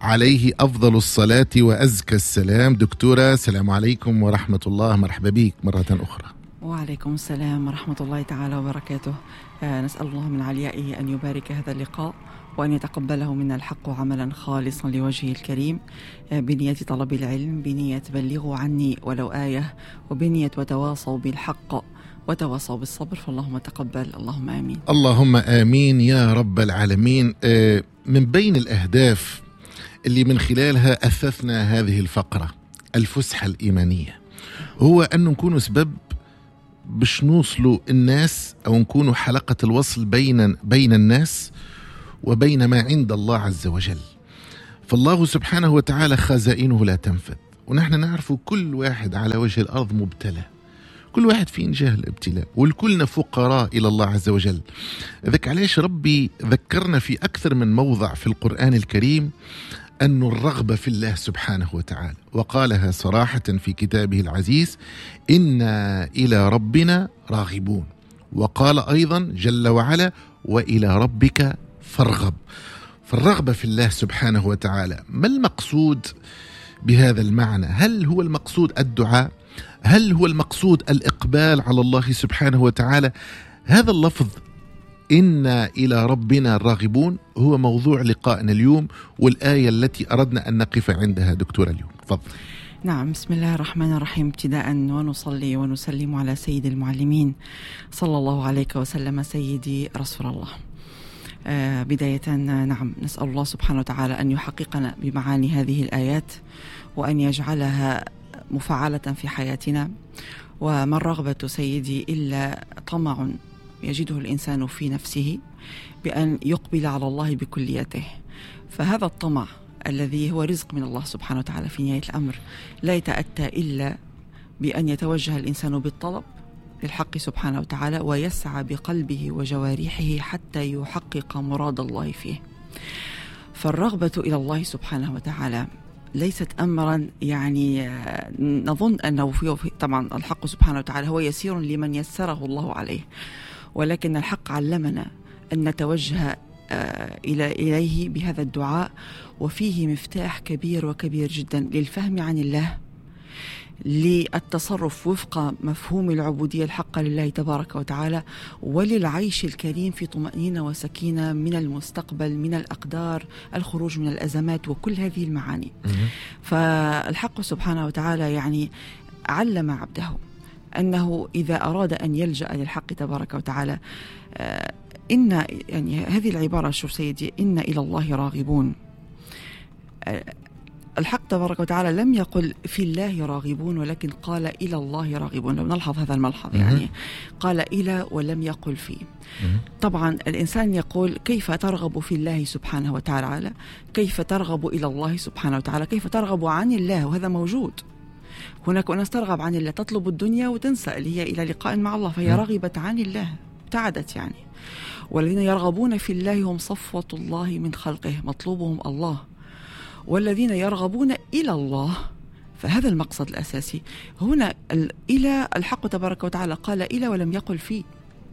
عليه أفضل الصلاة وأزكى السلام. دكتورة السلام عليكم ورحمة الله، مرحبا بك مرة أخرى. وعليكم السلام ورحمة الله تعالى وبركاته. نسأل الله من عليائه أن يبارك هذا اللقاء وأن يتقبله منا الحق عملا خالصا لوجهه الكريم، بنية طلب العلم، بنية بلغوا عني ولو آية، وبنية وتواصوا بالحق وتواصوا بالصبر. فاللهم تقبل، اللهم آمين. اللهم آمين يا رب العالمين. من بين الأهداف اللي من خلالها أثثنا هذه الفقرة الفسحة الإيمانية هو أن نكون سبب باش نوصلوا الناس أو نكونوا حلقة الوصل بين الناس وبين ما عند الله عز وجل. فالله سبحانه وتعالى خزائنه لا تنفد، ونحن نعرف كل واحد على وجه الأرض مبتلى، كل واحد فيه جهل الابتلاء، والكلنا فقراء إلى الله عز وجل. ذاك علاش ربي ذكرنا في أكثر من موضع في القرآن الكريم أن الرغبة في الله سبحانه وتعالى، وقالها صراحة في كتابه العزيز: إنا إلى ربنا راغبون. وقال أيضا جل وعلا: وإلى ربك فارغب. فالرغبة في الله سبحانه وتعالى، ما المقصود بهذا المعنى؟ هل هو المقصود الدعاء؟ هل هو المقصود الإقبال على الله سبحانه وتعالى؟ هذا اللفظ إنا إلى ربنا راغبون هو موضوع لقائنا اليوم، والآية التي أردنا أن نقف عندها دكتورة اليوم. تفضل. نعم، بسم الله الرحمن الرحيم. ابتداء ونصلي ونسلم على سيد المعلمين صلى الله عليك وسلم سيدي رسول الله. بداية نعم، نسأل الله سبحانه وتعالى أن يحققنا بمعاني هذه الآيات وأن يجعلها مفعلة في حياتنا. وما الرغبة سيدي إلا طمع يجده الإنسان في نفسه بأن يقبل على الله بكليته. فهذا الطمع الذي هو رزق من الله سبحانه وتعالى في نهاية الأمر لا يتأتى إلا بأن يتوجه الإنسان بالطلب للحق سبحانه وتعالى ويسعى بقلبه وجوارحه حتى يحقق مراد الله فيه. فالرغبة إلى الله سبحانه وتعالى ليست أمرا يعني نظن أنه فيه، طبعا الحق سبحانه وتعالى هو يسير لمن يسره الله عليه، ولكن الحق علمنا أن نتوجه إليه بهذا الدعاء، وفيه مفتاح كبير وكبير جدا للفهم عن الله، للتصرف وفق مفهوم العبودية الحقة لله تبارك وتعالى، وللعيش الكريم في طمأنينة وسكينة من المستقبل، من الأقدار، الخروج من الأزمات، وكل هذه المعاني. فالحق سبحانه وتعالى يعني علم عبده أنه إذا أراد أن يلجأ للحق تبارك وتعالى، إن يعني هذه العبارة، شوف سيدي، إن إلى الله راغبون. الحق تبارك وتعالى لم يقل في الله راغبون، ولكن قال إلى الله راغبون. لو نلحظ هذا الملحظ، يعني قال إلى ولم يقل فيه. طبعا الإنسان يقول كيف ترغب في الله سبحانه وتعالى، كيف ترغب إلى الله سبحانه وتعالى، كيف ترغب عن الله، وهذا موجود. هناك أناس ترغب عن الله، تطلب الدنيا وتنسى اللي هي إلى لقاء مع الله، فهي رغبت عن الله، ابتعدت يعني. والذين يرغبون في الله هم صفوة الله من خلقه، مطلوبهم الله. والذين يرغبون إلى الله، فهذا المقصد الأساسي هنا. إلى الحق تبارك وتعالى قال إلى ولم يقل فيه.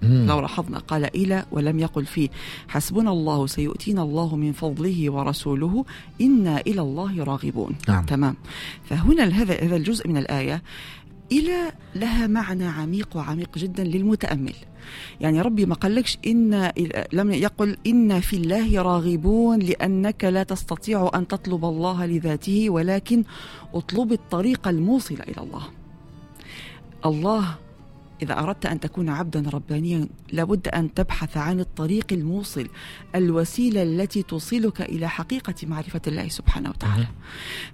لو لاحظنا قال إلى ولم يقل فيه. حسبنا الله سيؤتينا الله من فضله ورسوله إنا إلى الله راغبون. نعم. تمام. فهنا هذا الجزء من الآية إلى لها معنى عميق وعميق جدا للمتأمل. يعني ربي ما قالكش إن، لم يقل إن في الله راغبون لأنك لا تستطيع أن تطلب الله لذاته، ولكن اطلب الطريق الموصل إلى الله. الله إذا أردت أن تكون عبدا ربانيا لابد أن تبحث عن الطريق الموصل، الوسيلة التي توصلك إلى حقيقة معرفة الله سبحانه وتعالى.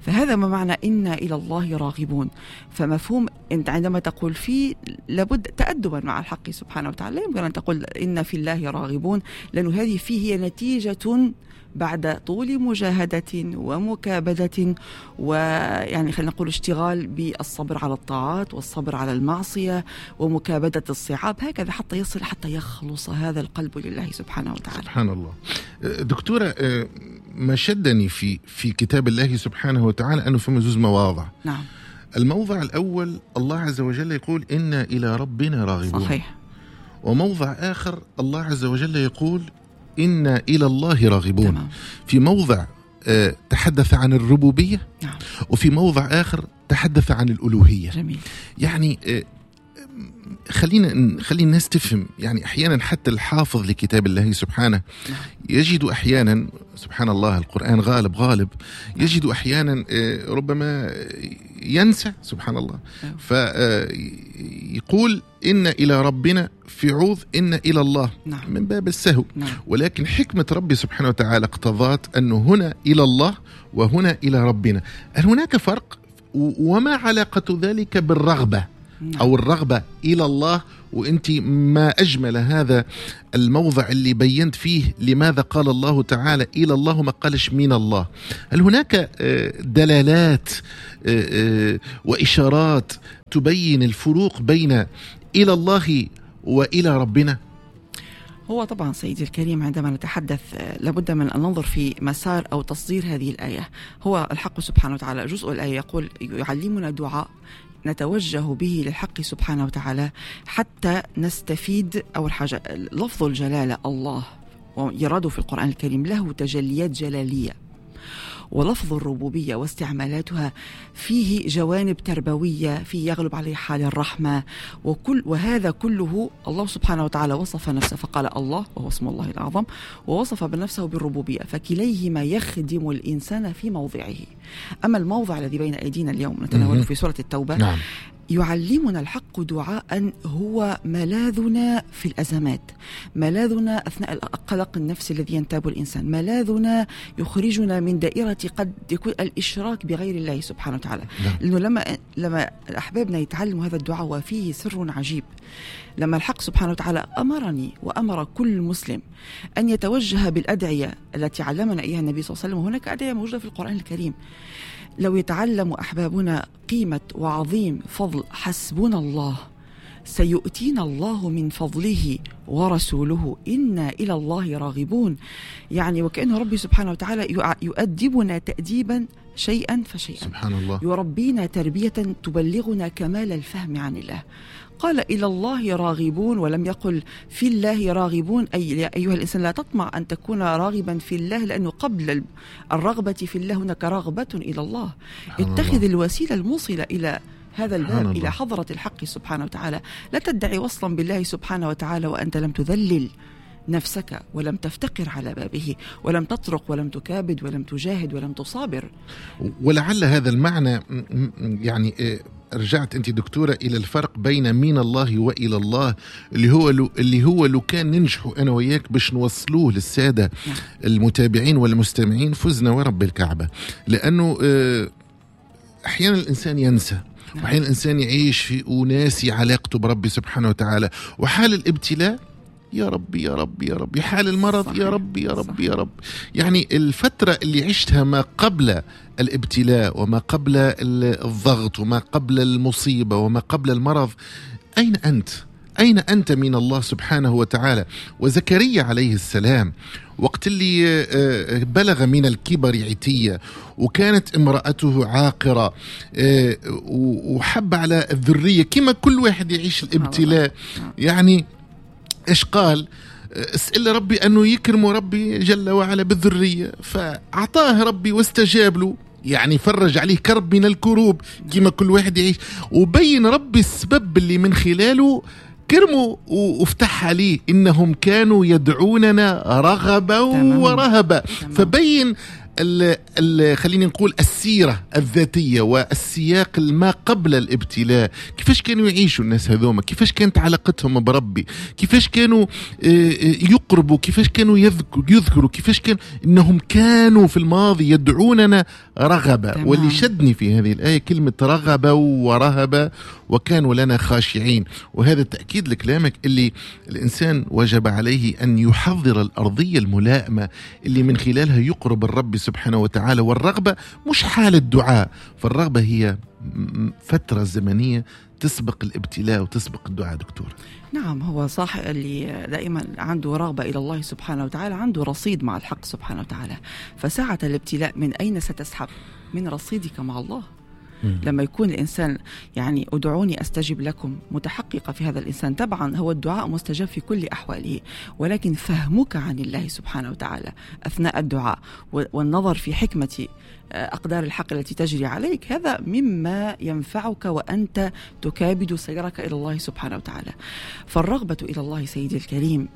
فهذا ما معنى إنا إلى الله راغبون. فمفهوم أنت عندما تقول فيه لابد تأدبا مع الحق سبحانه وتعالى، لا يمكن أن تقول إن في الله راغبون، لأن هذه فيه هي نتيجة بعد طول مجاهدة ومكابدة، ويعني خلينا نقول اشتغال بالصبر على الطاعات والصبر على المعصية ومكابدة الصعاب، هكذا حتى يصل، حتى يخلص هذا القلب لله سبحانه وتعالى. سبحان الله. دكتورة، ما شدني في كتاب الله سبحانه وتعالى أنه في زوج مواضع. نعم. الموضع الأول الله عز وجل يقول إنا إلى ربنا راغبون. صحيح. وموضع آخر الله عز وجل يقول إنا إلى الله راغبون. تمام. في موضع تحدث عن الربوبية. نعم. وفي موضع آخر تحدث عن الألوهية. جميل. يعني خلي الناس تفهم. يعني أحيانا حتى الحافظ لكتاب الله سبحانه نعم. يجد أحيانا، سبحان الله القرآن غالب، يجد أحيانا ربما ينسى، سبحان الله. نعم. فيقول إن إلى ربنا في عوض إن إلى الله. نعم. من باب السهو. نعم. ولكن حكمة ربي سبحانه وتعالى اقتضت أنه هنا إلى الله وهنا إلى ربنا. هل هناك فرق؟ وما علاقة ذلك بالرغبة؟ أو الرغبة إلى الله. وأنت ما أجمل هذا الموضع اللي بينت فيه لماذا قال الله تعالى إلى الله ما قالش من الله. هل هناك دلالات وإشارات تبين الفروق بين إلى الله وإلى ربنا؟ هو طبعا سيدي الكريم عندما نتحدث لابد من أن ننظر في مسار أو تصدير هذه الآية. هو الحق سبحانه وتعالى جزء الآية يقول يعلمنا دعاء نتوجه به للحق سبحانه وتعالى حتى نستفيد. أول حاجة لفظ الجلالة الله ويراد في القرآن الكريم له تجليات جلالية، ولفظ الربوبية واستعمالاتها فيه جوانب تربوية، فيه يغلب عليه حال الرحمة، وهذا كله الله سبحانه وتعالى وصف نفسه فقال الله وهو اسم الله الأعظم، ووصف بنفسه بالربوبية، فكليهما يخدم الإنسان في موضعه. أما الموضع الذي بين أيدينا اليوم نتناوله في سورة التوبة، نعم، يعلمنا الحق دعاء هو ملاذنا في الأزمات، ملاذنا أثناء القلق النفسي الذي ينتاب الإنسان، ملاذنا يخرجنا من دائرة قد يكون الإشراك بغير الله سبحانه وتعالى. لأنه لما أحبابنا يتعلموا هذا الدعاء وفيه سر عجيب، لما الحق سبحانه وتعالى أمرني وأمر كل مسلم أن يتوجه بالأدعية التي علمنا إياها النبي صلى الله عليه وسلم، وهناك أدعية موجودة في القرآن الكريم. لو يتعلم أحبابنا قيمة وعظيم فضل حسبنا الله سيؤتينا الله من فضله ورسوله إنا إلى الله راغبون، يعني وكأنه ربي سبحانه وتعالى يؤدبنا تأديبا شيئا فشيئا، سبحان الله، يربينا تربية تبلغنا كمال الفهم عن الله. قال إلى الله راغبون ولم يقل في الله راغبون، أي أيها الإنسان لا تطمع أن تكون راغبا في الله، لأنه قبل الرغبة في الله هناك رغبة إلى الله. اتخذ الوسيلة الموصلة إلى هذا الباب، إلى حضرة الحق سبحانه وتعالى. لا تدعي وصلا بالله سبحانه وتعالى وأنت لم تذلل نفسك ولم تفتقر على بابه ولم تطرق ولم تكابد ولم تجاهد ولم تصابر. ولعل هذا المعنى يعني رجعت أنت دكتورة إلى الفرق بين من الله وإلى الله، اللي هو لو كان ننجحوا أنا وياك باش نوصلوه للسادة المتابعين والمستمعين فزنا ورب الكعبة. لأنه أحيانا الإنسان ينسى، وأحيانا الإنسان يعيش في أناسي علاقته بربي سبحانه وتعالى، وحال الابتلاء يا ربي يا ربي يا ربي، حال المرض صحيح. يا ربي يا ربي يا رب. يعني الفترة اللي عشتها ما قبل الابتلاء وما قبل الضغط وما قبل المصيبة وما قبل المرض، أين أنت؟ أين أنت من الله سبحانه وتعالى؟ وزكريا عليه السلام وقت اللي بلغ من الكبر عتية وكانت امرأته عاقرة وحب على الذرية كما كل واحد يعيش الابتلاء، يعني إيش قال؟ اسأل ربي أنه يكرم ربي جل وعلا بالذرية، فأعطاه ربي واستجاب له، يعني فرج عليه كرب من الكروب كما كل واحد يعيش، وبين ربي السبب اللي من خلاله كرمه وافتح عليه، إنهم كانوا يدعوننا رغبا ورهبا. فبين خليني نقول السيرة الذاتية والسياق ما قبل الابتلاء، كيفاش كانوا يعيشوا الناس هذوما، كيفاش كانت علاقتهم بربي، كيفاش كانوا يقربوا، كيفاش كانوا يذكروا، كيفاش كان إنهم كانوا في الماضي يدعوننا رغبا. واللي شدني في هذه الآية كلمة رغبا ورهبا وكانوا لنا خاشعين، وهذا تأكيد لكلامك اللي الإنسان وجب عليه أن يحضر الأرضية الملائمة اللي من خلالها يقرب الرب سبحانه وتعالى. والرغبة مش حالة دعاء، فالرغبة هي فترة زمنية تسبق الابتلاء وتسبق الدعاء. دكتور نعم، هو صح، اللي دائما عنده رغبة إلى الله سبحانه وتعالى عنده رصيد مع الحق سبحانه وتعالى، فساعة الابتلاء من أين ستسحب؟ من رصيدك مع الله. لما يكون الإنسان يعني أدعوني أستجب لكم متحققة في هذا الإنسان، طبعا هو الدعاء مستجاب في كل أحواله، ولكن فهمك عن الله سبحانه وتعالى أثناء الدعاء والنظر في حكمة أقدار الحق التي تجري عليك، هذا مما ينفعك وأنت تكابد سيرك إلى الله سبحانه وتعالى. فالرغبة إلى الله سيدي الكريم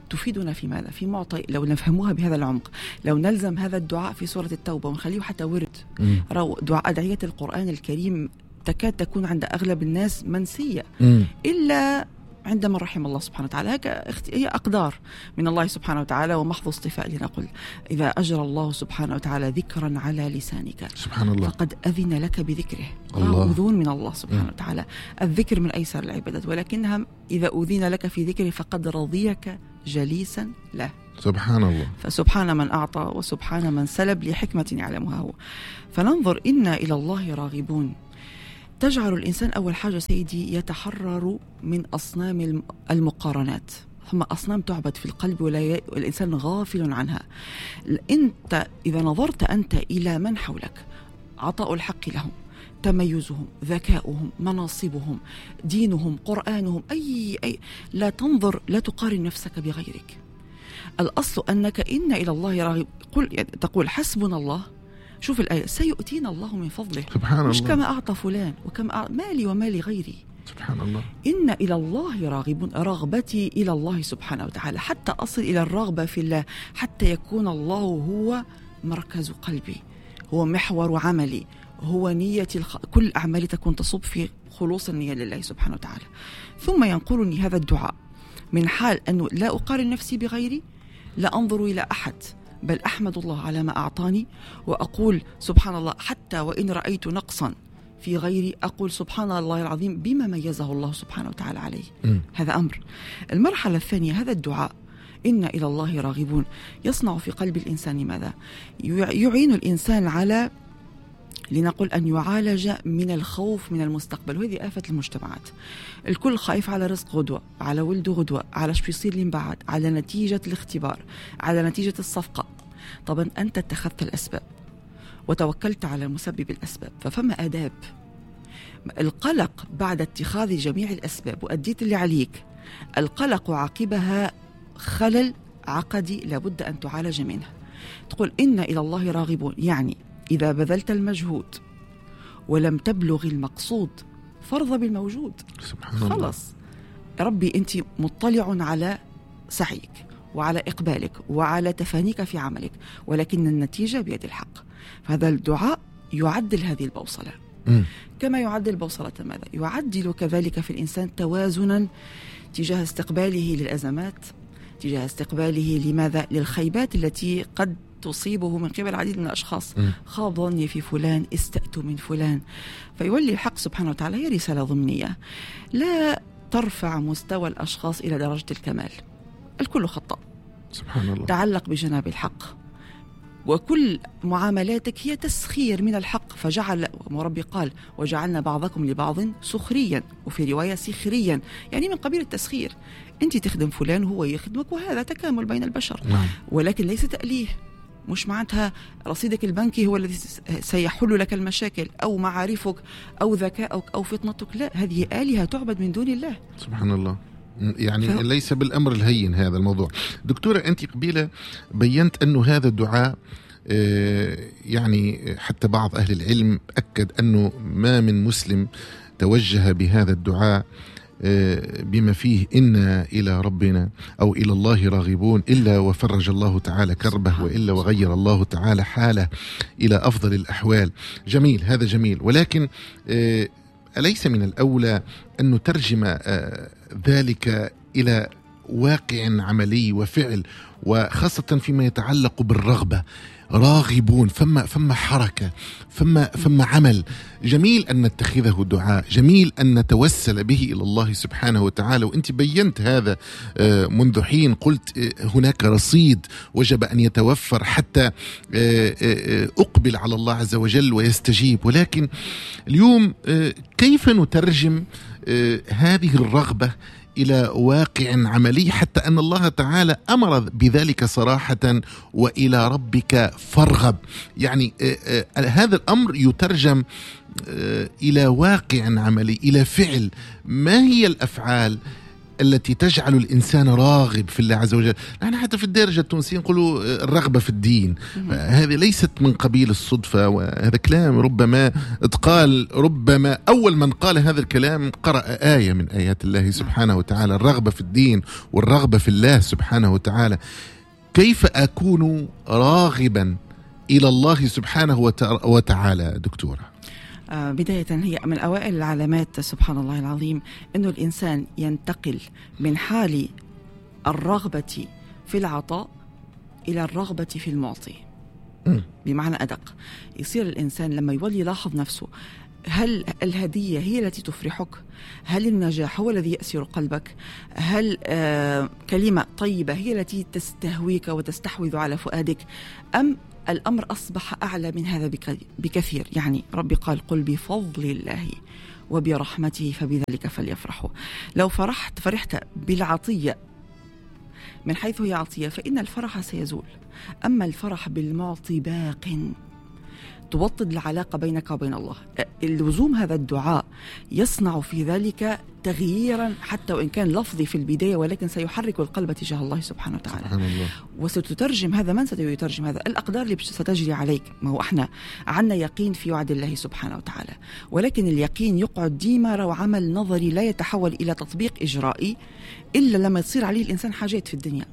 تفيدنا في ماذا؟ في معطي لو نفهموها بهذا العمق، لو نلزم هذا الدعاء في سورة التوبة ونخليه حتى ورد، دعاء أدعية القرآن الكريم تكاد تكون عند أغلب الناس منسية، إلا عندما رحم الله سبحانه وتعالى. هي أقدار من الله سبحانه وتعالى ومحض اصطفاء. لنقل إذا أجرى الله سبحانه وتعالى ذكرا على لسانك سبحان الله فقد أذن لك بذكره. أذون من الله سبحانه وتعالى. الذكر من أيسر العبادات، ولكنها إذا أذن لك في ذكره فقد رضيك جليسا له. سبحان الله. فسبحان من أعطى وسبحان من سلب لحكمة يعلمها هو. فننظر إنا إلى الله راغبون. تجعل الإنسان أول حاجة سيدي يتحرر من أصنام المقارنات. ثم أصنام تعبد في القلب والإنسان غافل عنها. أنت إذا نظرت أنت إلى من حولك، عطاء الحق لهم، تميزهم، ذكاؤهم، مناصبهم، دينهم، قرآنهم، أي لا تنظر، لا تقارن نفسك بغيرك. الأصل أنك إن إلى الله راغب. تقول حسبنا الله. شوف الآية، سيؤتينا الله من فضله. سبحان الله. مش كما أعطى فلان وكما مالي ومالي غيري. سبحان الله. إن إلى الله راغبون، رغبتي إلى الله سبحانه وتعالى حتى أصل إلى الرغبة في الله، حتى يكون الله هو مركز قلبي، هو محور عملي، هو نيتي، كل أعمالي تكون تصب في خلوص النية لله سبحانه وتعالى. ثم ينقلني هذا الدعاء من حال أنه لا أقارن نفسي بغيري، لا أنظر إلى أحد، بل أحمد الله على ما أعطاني، وأقول سبحان الله حتى وإن رأيت نقصا في غيري أقول سبحان الله العظيم بما ميزه الله سبحانه وتعالى عليه. هذا أمر. المرحلة الثانية، هذا الدعاء إن إلى الله راغبون يصنع في قلب الإنسان ماذا؟ يعين الإنسان على لنقل أن يعالج من الخوف من المستقبل، وهذه آفة المجتمعات. الكل خايف على رزق غدوة، على ولده غدوة، على شو يصير لي من بعد، على نتيجة الاختبار، على نتيجة الصفقة. طبعا أنت اتخذت الأسباب وتوكلت على مسبب الأسباب، ففما آداب. القلق بعد اتخاذ جميع الأسباب وأديت اللي عليك، القلق عقبها خلل عقدي لابد أن تعالج منه. تقول إن إلى الله راغبون، يعني إذا بذلت المجهود ولم تبلغ المقصود فارض بالموجود. سبحان الله. خلص ربي أنت مطلع على سعيك وعلى إقبالك وعلى تفانيك في عملك، ولكن النتيجة بيد الحق. فهذا الدعاء يعدل هذه البوصلة. كما يعدل بوصلة ماذا؟ يعدل كذلك في الإنسان توازنا تجاه استقباله للأزمات، تجاه استقباله لماذا؟ للخيبات التي قد تصيبه من قبل العديد من الأشخاص. خاب ظني في فلان، استأت من فلان. فيولي الحق سبحانه وتعالى، هي رسالة ضمنية، لا ترفع مستوى الأشخاص إلى درجة الكمال، الكل خطأ. سبحان الله. تعلق بجناب الحق، وكل معاملاتك هي تسخير من الحق. فجعل ربي قال وجعلنا بعضكم لبعض سخريا، وفي رواية سخريا، يعني من قبيل التسخير. أنت تخدم فلان وهو يخدمك، وهذا تكامل بين البشر. نعم. ولكن ليس تأليه، مش معناتها رصيدك البنكي هو الذي سيحل لك المشاكل، أو معارفك أو ذكاؤك أو فطنتك. لا، هذه آلهة تعبد من دون الله. سبحان الله. يعني ليس بالأمر الهين هذا الموضوع. دكتورة، أنت قبيلة بينت أنه هذا الدعاء يعني حتى بعض أهل العلم أكد أنه ما من مسلم توجه بهذا الدعاء بما فيه إنا إلى ربنا أو إلى الله راغبون إلا وفرج الله تعالى كربه، وإلا وغير الله تعالى حاله إلى أفضل الأحوال. جميل، هذا جميل، ولكن أليس من الأولى أن نترجم ذلك إلى واقع عملي وفعل، وخاصة فيما يتعلق بالرغبة؟ راغبون، فما حركة، فما عمل. جميل أن نتخذه دعاء، جميل أن نتوسل به إلى الله سبحانه وتعالى، وأنت بينت هذا منذ حين، قلت هناك رصيد وجب أن يتوفر حتى أقبل على الله عز وجل ويستجيب. ولكن اليوم كيف نترجم هذه الرغبة إلى واقع عملي، حتى أن الله تعالى أمر بذلك صراحة، وإلى ربك فارغب؟ يعني هذا الأمر يترجم إلى واقع عملي، إلى فعل. ما هي الأفعال التي تجعل الإنسان راغب في الله عز وجل؟ نحن حتى في الدارجة التونسية نقولوا الرغبة في الدين، هذه ليست من قبيل الصدفة، وهذا كلام ربما اتقال، ربما أول من قال هذا الكلام قرأ آية من آيات الله سبحانه وتعالى، الرغبة في الدين والرغبة في الله سبحانه وتعالى. كيف أكون راغبا إلى الله سبحانه وتعالى دكتورة؟ بداية هي من أوائل العلامات سبحان الله العظيم أنه الإنسان ينتقل من حال الرغبة في العطاء إلى الرغبة في المعطي. بمعنى أدق، يصير الإنسان لما يولي يلاحظ نفسه، هل الهدية هي التي تفرحك؟ هل النجاح هو الذي يأسر قلبك؟ هل كلمة طيبة هي التي تستهويك وتستحوذ على فؤادك؟ أم الأمر أصبح أعلى من هذا بكثير؟ يعني ربي قال قل بفضل الله وبرحمته فبذلك فليفرحوا. لو فرحت بالعطية من حيث هي عطية فإن الفرح سيزول، أما الفرح بالمعطي باق. توطد العلاقة بينك وبين الله. اللزوم هذا الدعاء يصنع في ذلك تغييرا حتى وإن كان لفظي في البداية، ولكن سيحرك القلب تجاه الله سبحانه وتعالى. سبحان الله. وستترجم هذا، من سيترجم هذا؟ الأقدار اللي ستجري عليك. ما هو احنا عنا يقين في وعد الله سبحانه وتعالى، ولكن اليقين يقعد ديما وعمل نظري لا يتحول إلى تطبيق إجرائي إلا لما تصير عليه الإنسان حاجات في الدنيا.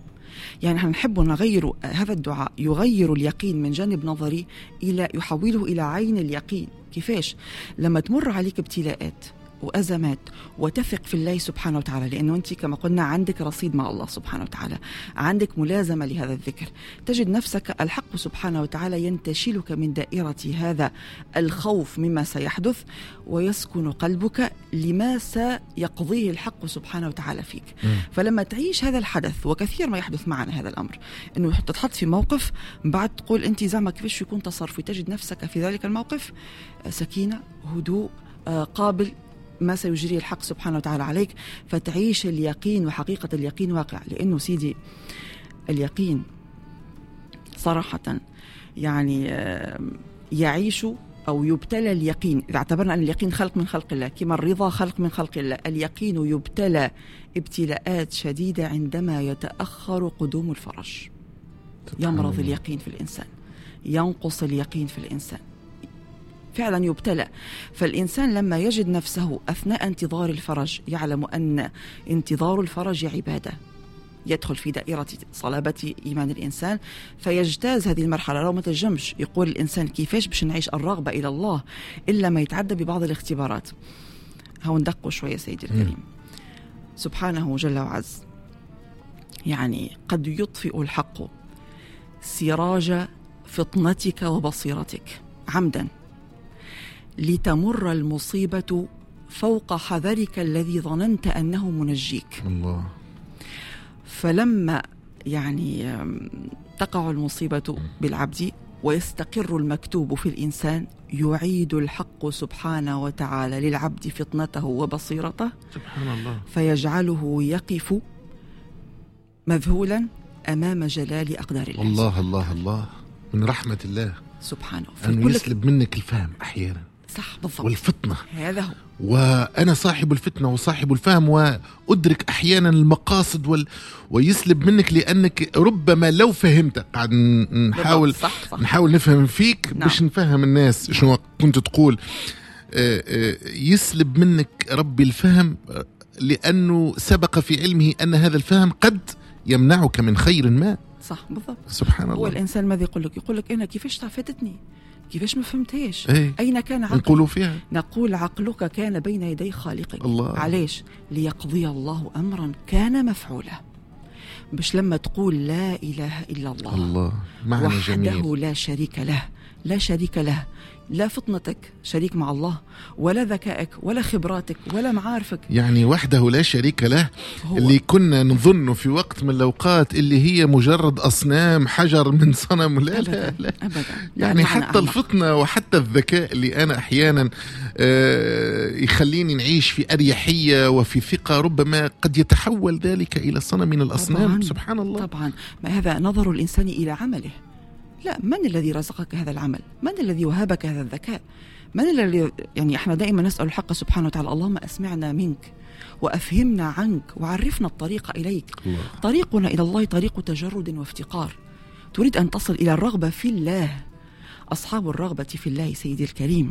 يعني نحن نحب نغير هذا الدعاء، يغير اليقين من جانب نظري إلى يحوله إلى عين اليقين. كيفاش؟ لما تمر عليك ابتلاءات وأزمات وتثق في الله سبحانه وتعالى، لأنه أنت كما قلنا عندك رصيد مع الله سبحانه وتعالى، عندك ملازمة لهذا الذكر، تجد نفسك الحق سبحانه وتعالى ينتشلك من دائرة هذا الخوف مما سيحدث، ويسكن قلبك لما سيقضيه الحق سبحانه وتعالى فيك. فلما تعيش هذا الحدث، وكثير ما يحدث معنا هذا الأمر، أنه تتحط في موقف بعد تقول أنت زعما كيفاش يكون تصرفي، تجد نفسك في ذلك الموقف سكينة، هدوء، قابل ما سيجري الحق سبحانه وتعالى عليك، فتعيش اليقين وحقيقة اليقين واقع. لأنه سيدي اليقين صراحة يعني يعيش أو يبتلى اليقين. إذا اعتبرنا أن اليقين خلق من خلق الله، كما الرضا خلق من خلق الله، اليقين يبتلى ابتلاءات شديدة عندما يتأخر قدوم الفرج. يمرض اليقين في الإنسان، ينقص اليقين في الإنسان، فعلا يبتلى. فالإنسان لما يجد نفسه أثناء انتظار الفرج يعلم أن انتظار الفرج عبادة، يدخل في دائرة صلابة إيمان الإنسان فيجتاز هذه المرحلة. لو ما تجمش يقول الإنسان كيفاش باش نعيش الرغبة إلى الله إلا ما يتعدى ببعض الاختبارات. هاو ندقوا شوية سيدي الكريم. سبحانه جل وعز، يعني قد يطفئ الحق سراج فطنتك وبصيرتك عمدا لتمر المصيبة فوق حذرك الذي ظننت أنه منجيك. الله. فلما يعني تقع المصيبة بالعبد ويستقر المكتوب في الإنسان، يعيد الحق سبحانه وتعالى للعبد فطنته وبصيرته، سبحان الله، فيجعله يقف مذهولا أمام جلال أقدار الله. الله الله الله، من رحمة الله سبحانه أنه يسلب منك الفهم أحيانا. صح بالضبط، والفطنة، هذا هو. وأنا صاحب الفتنة وصاحب الفهم وأدرك أحيانا المقاصد ويسلب منك، لأنك ربما لو فهمت، قاعد نحاول صح صح. نحاول نفهم فيك، نعم. باش نفهم الناس شنو كنت تقول. يسلب منك ربي الفهم لأنه سبق في علمه أن هذا الفهم قد يمنعك من خير ما. صح بالضبط، سبحان الله. هو الإنسان ماذا يقول لك؟ يقول لك أنا كيفاش فاتتني، كيفاش ما فهمتهاش، ايه؟ أين كان عقلك؟ نقول فيها، نقول عقلك كان بين يدي خالقك. الله. علاش؟ ليقضي الله أمرا كان مفعولا. باش لما تقول لا إله إلا الله، الله معنى وحده جميل، لا شريك له، لا شريك له، لا فطنتك شريك مع الله، ولا ذكائك، ولا خبراتك، ولا معارفك، يعني وحده لا شريك له. هو. اللي كنا نظن في وقت من الأوقات اللي هي مجرد أصنام، حجر من صنم، لا. أبداً. لا لا أبداً. يعني حتى الفطنة وحتى الذكاء اللي أنا أحيانا يخليني نعيش في أريحية وفي ثقة، ربما قد يتحول ذلك إلى صنم من الأصنام. طبعاً. سبحان الله. طبعا، ما هذا نظر الإنسان إلى عمله. لا، من الذي رزقك هذا العمل؟ من الذي وهبك هذا الذكاء؟ من الذي، يعني احنا دائما نسأل الحق سبحانه وتعالى اللهم أسمعنا منك وأفهمنا عنك وعرفنا الطريق إليك. الله. طريقنا إلى الله طريق تجرد وافتقار. تريد أن تصل إلى الرغبة في الله. أصحاب الرغبة في الله سيدي الكريم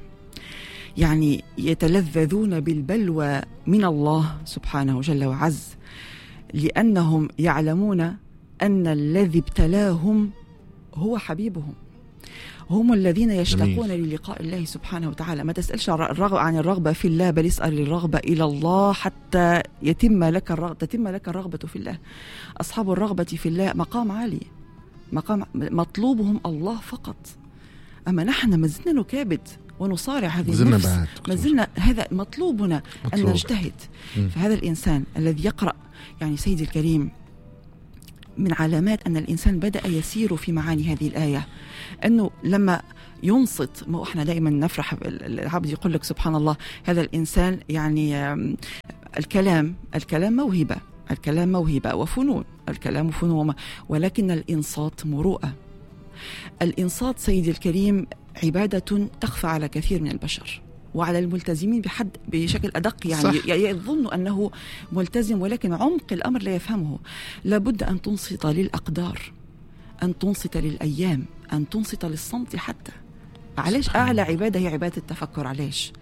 يعني يتلذذون بالبلوى من الله سبحانه جل وعز، لأنهم يعلمون أن الذي ابتلاهم هو حبيبهم. هم الذين يشتاقون للقاء الله سبحانه وتعالى. ما تسألش عن الرغبة في الله، بل اسأل الرغبة إلى الله حتى يتم لك تتم لك الرغبة في الله. أصحاب الرغبة في الله مقام عالي، مقام مطلوبهم الله فقط. أما نحن ما زلنا نكابد ونصارع هذه النفس، ما زلنا هذا مطلوبنا أن نجتهد. فهذا الإنسان الذي يقرأ، يعني سيدي الكريم، من علامات أن الإنسان بدأ يسير في معاني هذه الآية أنه لما ينصت. ما إحنا دائما نفرح، العبد يقول لك سبحان الله هذا الإنسان، يعني الكلام موهبة، الكلام موهبة وفنون، الكلام فنون، ولكن الإنصات مروءة. الإنصات سيدي الكريم عبادة تخفى على كثير من البشر وعلى الملتزمين بحد بشكل أدق، يعني يظن أنه ملتزم ولكن عمق الأمر لا يفهمه. لابد أن تنصت للأقدار، أن تنصت للأيام، أن تنصت للصمت حتى. علاش أعلى عبادة هي عبادة التفكر؟ علاش؟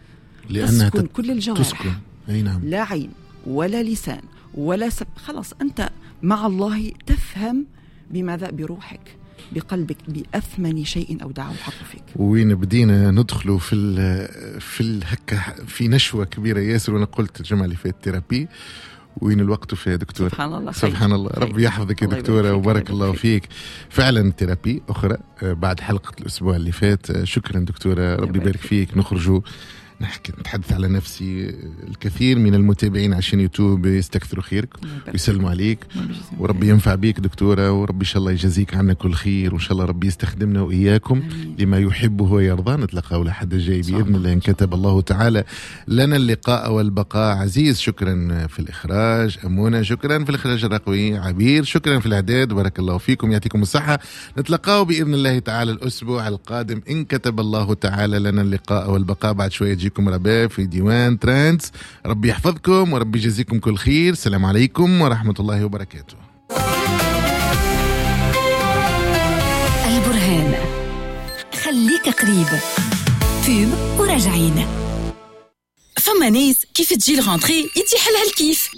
لأنها تسكن كل الجوارح، أي نعم. لا عين ولا لسان ولا خلاص أنت مع الله تفهم بماذا؟ بروحك، بقلبك، بأثمن شيء أودعه الحق فيك. وين بدينا ندخلوا في الهكة في نشوة كبيرة ياسر، وأنا قلت الجمعة اللي فاتت thérapie، وين الوقت فيها دكتور؟ سبحان الله، سبحان الله، ربي يحفظك يا دكتورة وبارك الله فيك. فعلا thérapie أخرى بعد حلقة الأسبوع اللي فات. شكرا دكتورة، ربي يبارك فيك. نخرجوا نحكي نتحدث على نفسي. الكثير من المتابعين عشان يوتيوب يستكثروا خيرك ويسلموا عليك، وربي ينفع بيك دكتورة، وربي إن شاء الله يجازيك عنا كل خير، وإن شاء الله ربي يستخدمنا وإياكم لما يحبه ويرضى. نتلقى لحد الجاي بإذن الله إن كتب الله تعالى لنا اللقاء والبقاء. عزيز شكرا في الإخراج، أمونة شكرا في الإخراج الرقمي، عبير شكرا في الإعداد، بارك الله فيكم، يعطيكم الصحة. نتلقاه بإذن الله تعالى الأسبوع القادم إن كتب الله تعالى لنا اللقاء والبقاء. بعد شوية تجيكم رباب في ديوان Trends. ربي يحفظكم وربي يجزيكم كل خير. السلام عليكم ورحمة الله وبركاته. البرهان، خليك قريب. pub وراجعين. فما ناس كيف تجي ال rentrée يتيح لها الكيف،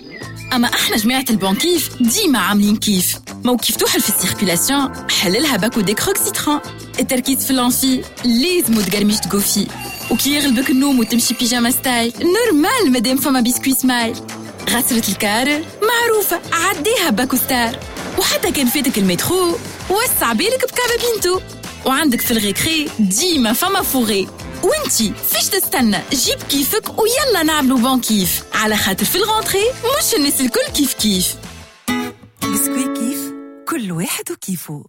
اما احنا جماعه ال bon كيف ديما عاملين كيف. مو كيف توحل في ال circulation حللها باكو Décroc citron، التركيز في l'amphi لازم تقرميش تقوفي، وكي يغلبك النوم وتمشي pyjama style normal مادام فما biscuit Smile. غسرة الكار معروفة عديها باكو Star، وحتى كان فاتك المترو وسع بالك بكابا بينتو، وعندك في ال récré ديما فما fourré. وانتي فيش تستنى، جيب كيفك ويلا نعملو bon كيف، على خاطر في ال rentrée مش الناس الكل كيف كيف. بسكوي كيف، كل واحد وكيفه.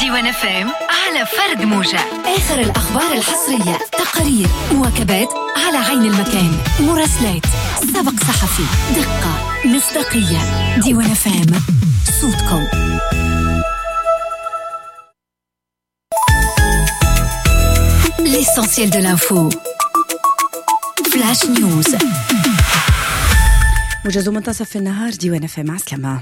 ديوان FM على فرد موجة. آخر الأخبار الحصرية، تقارير، مواكبات على عين المكان، مراسلات، سبق صحفي، دقة، مصداقية. ديوان FM، صوتكم. L'essentiel de l'info. Flash News. موجز منتصف النهار، ديوان FM، عسلامة.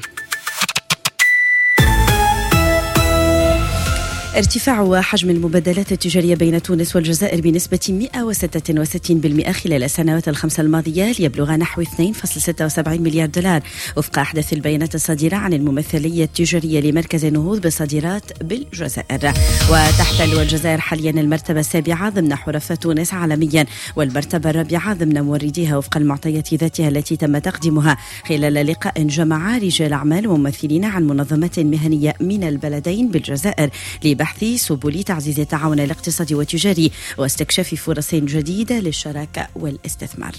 ارتفاع حجم المبادلات التجارية بين تونس والجزائر بنسبة 166% خلال السنوات الخمس الماضية ليبلغ نحو 2.76 مليار دولار وفق أحدث البيانات الصادرة عن الممثلية التجارية لمركز النهوض بالصادرات بالجزائر. وتحتل الجزائر حاليا المرتبة السابعة ضمن حرفاء تونس عالميا والمرتبة الرابعة ضمن مورديها وفق المعطيات ذاتها التي تم تقديمها خلال لقاء جمع رجال أعمال وممثلين عن منظمات مهنية من البلدين بالجزائر لبحث سبل تعزيز التعاون الاقتصادي والتجاري واستكشاف فرص جديدة للشراكة والاستثمار.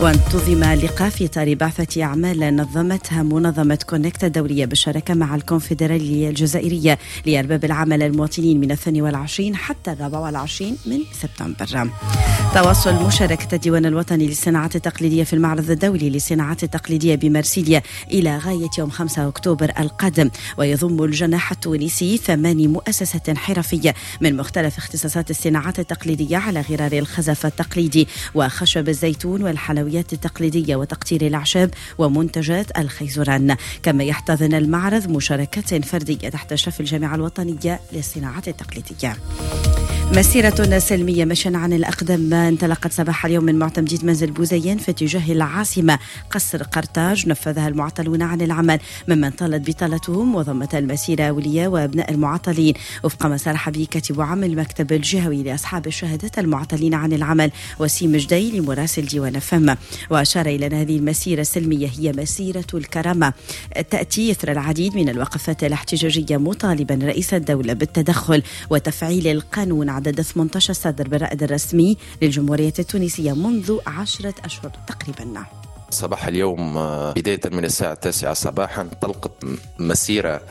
وانتظم لقاء في إطار بعثة أعمال نظمتها منظمة كونكت الدولية بالشراكة مع الكونفدرالية الجزائرية لأرباب العمل المواطنين من 22 حتى 24 من سبتمبر. تواصل مشاركة الديوان الوطني للصناعات التقليدية في المعرض الدولي للصناعات التقليدية بمارسيليا إلى غاية يوم 5 أكتوبر القادم، ويضم الجناح التونسي 8 مؤسسات حرفية من مختلف اختصاصات الصناعات التقليدية على غرار الخزف التقليدي وخشب الزيتون والحلويات التقليدية وتقطير الأعشاب ومنتجات الخيزران. كما يحتضن المعرض مشاركات فردية تحت إشراف الجامعة الوطنية للصناعات التقليدية. مسيرة سلمية مشيا عن الأقدام انطلقت صباح اليوم من معتمدية منزل بوزيان في اتجاه العاصمة قصر قرطاج، نفذها المعطلون عن العمل ممن طالت بطالتهم، وضمت المسيرة أولياء وأبناء المعطلين وفق ما صرح به كاتب عام المكتب الجهوي لأصحاب الشهادات المعطلين عن العمل وسيم جدي لمراسل ديوان فم. وأشار إلى أن هذه المسيرة السلمية هي مسيرة الكرامة تأتي إثر العديد من الوقفات الاحتجاجية مطالبا رئيس الدولة بالتدخل وتفعيل القانون عدد 18 صدر بالرائد الرسمي للجمهورية التونسية منذ 10 أشهر تقريبا. صباح اليوم بداية من الساعة 9 صباحا انطلقت مسيرة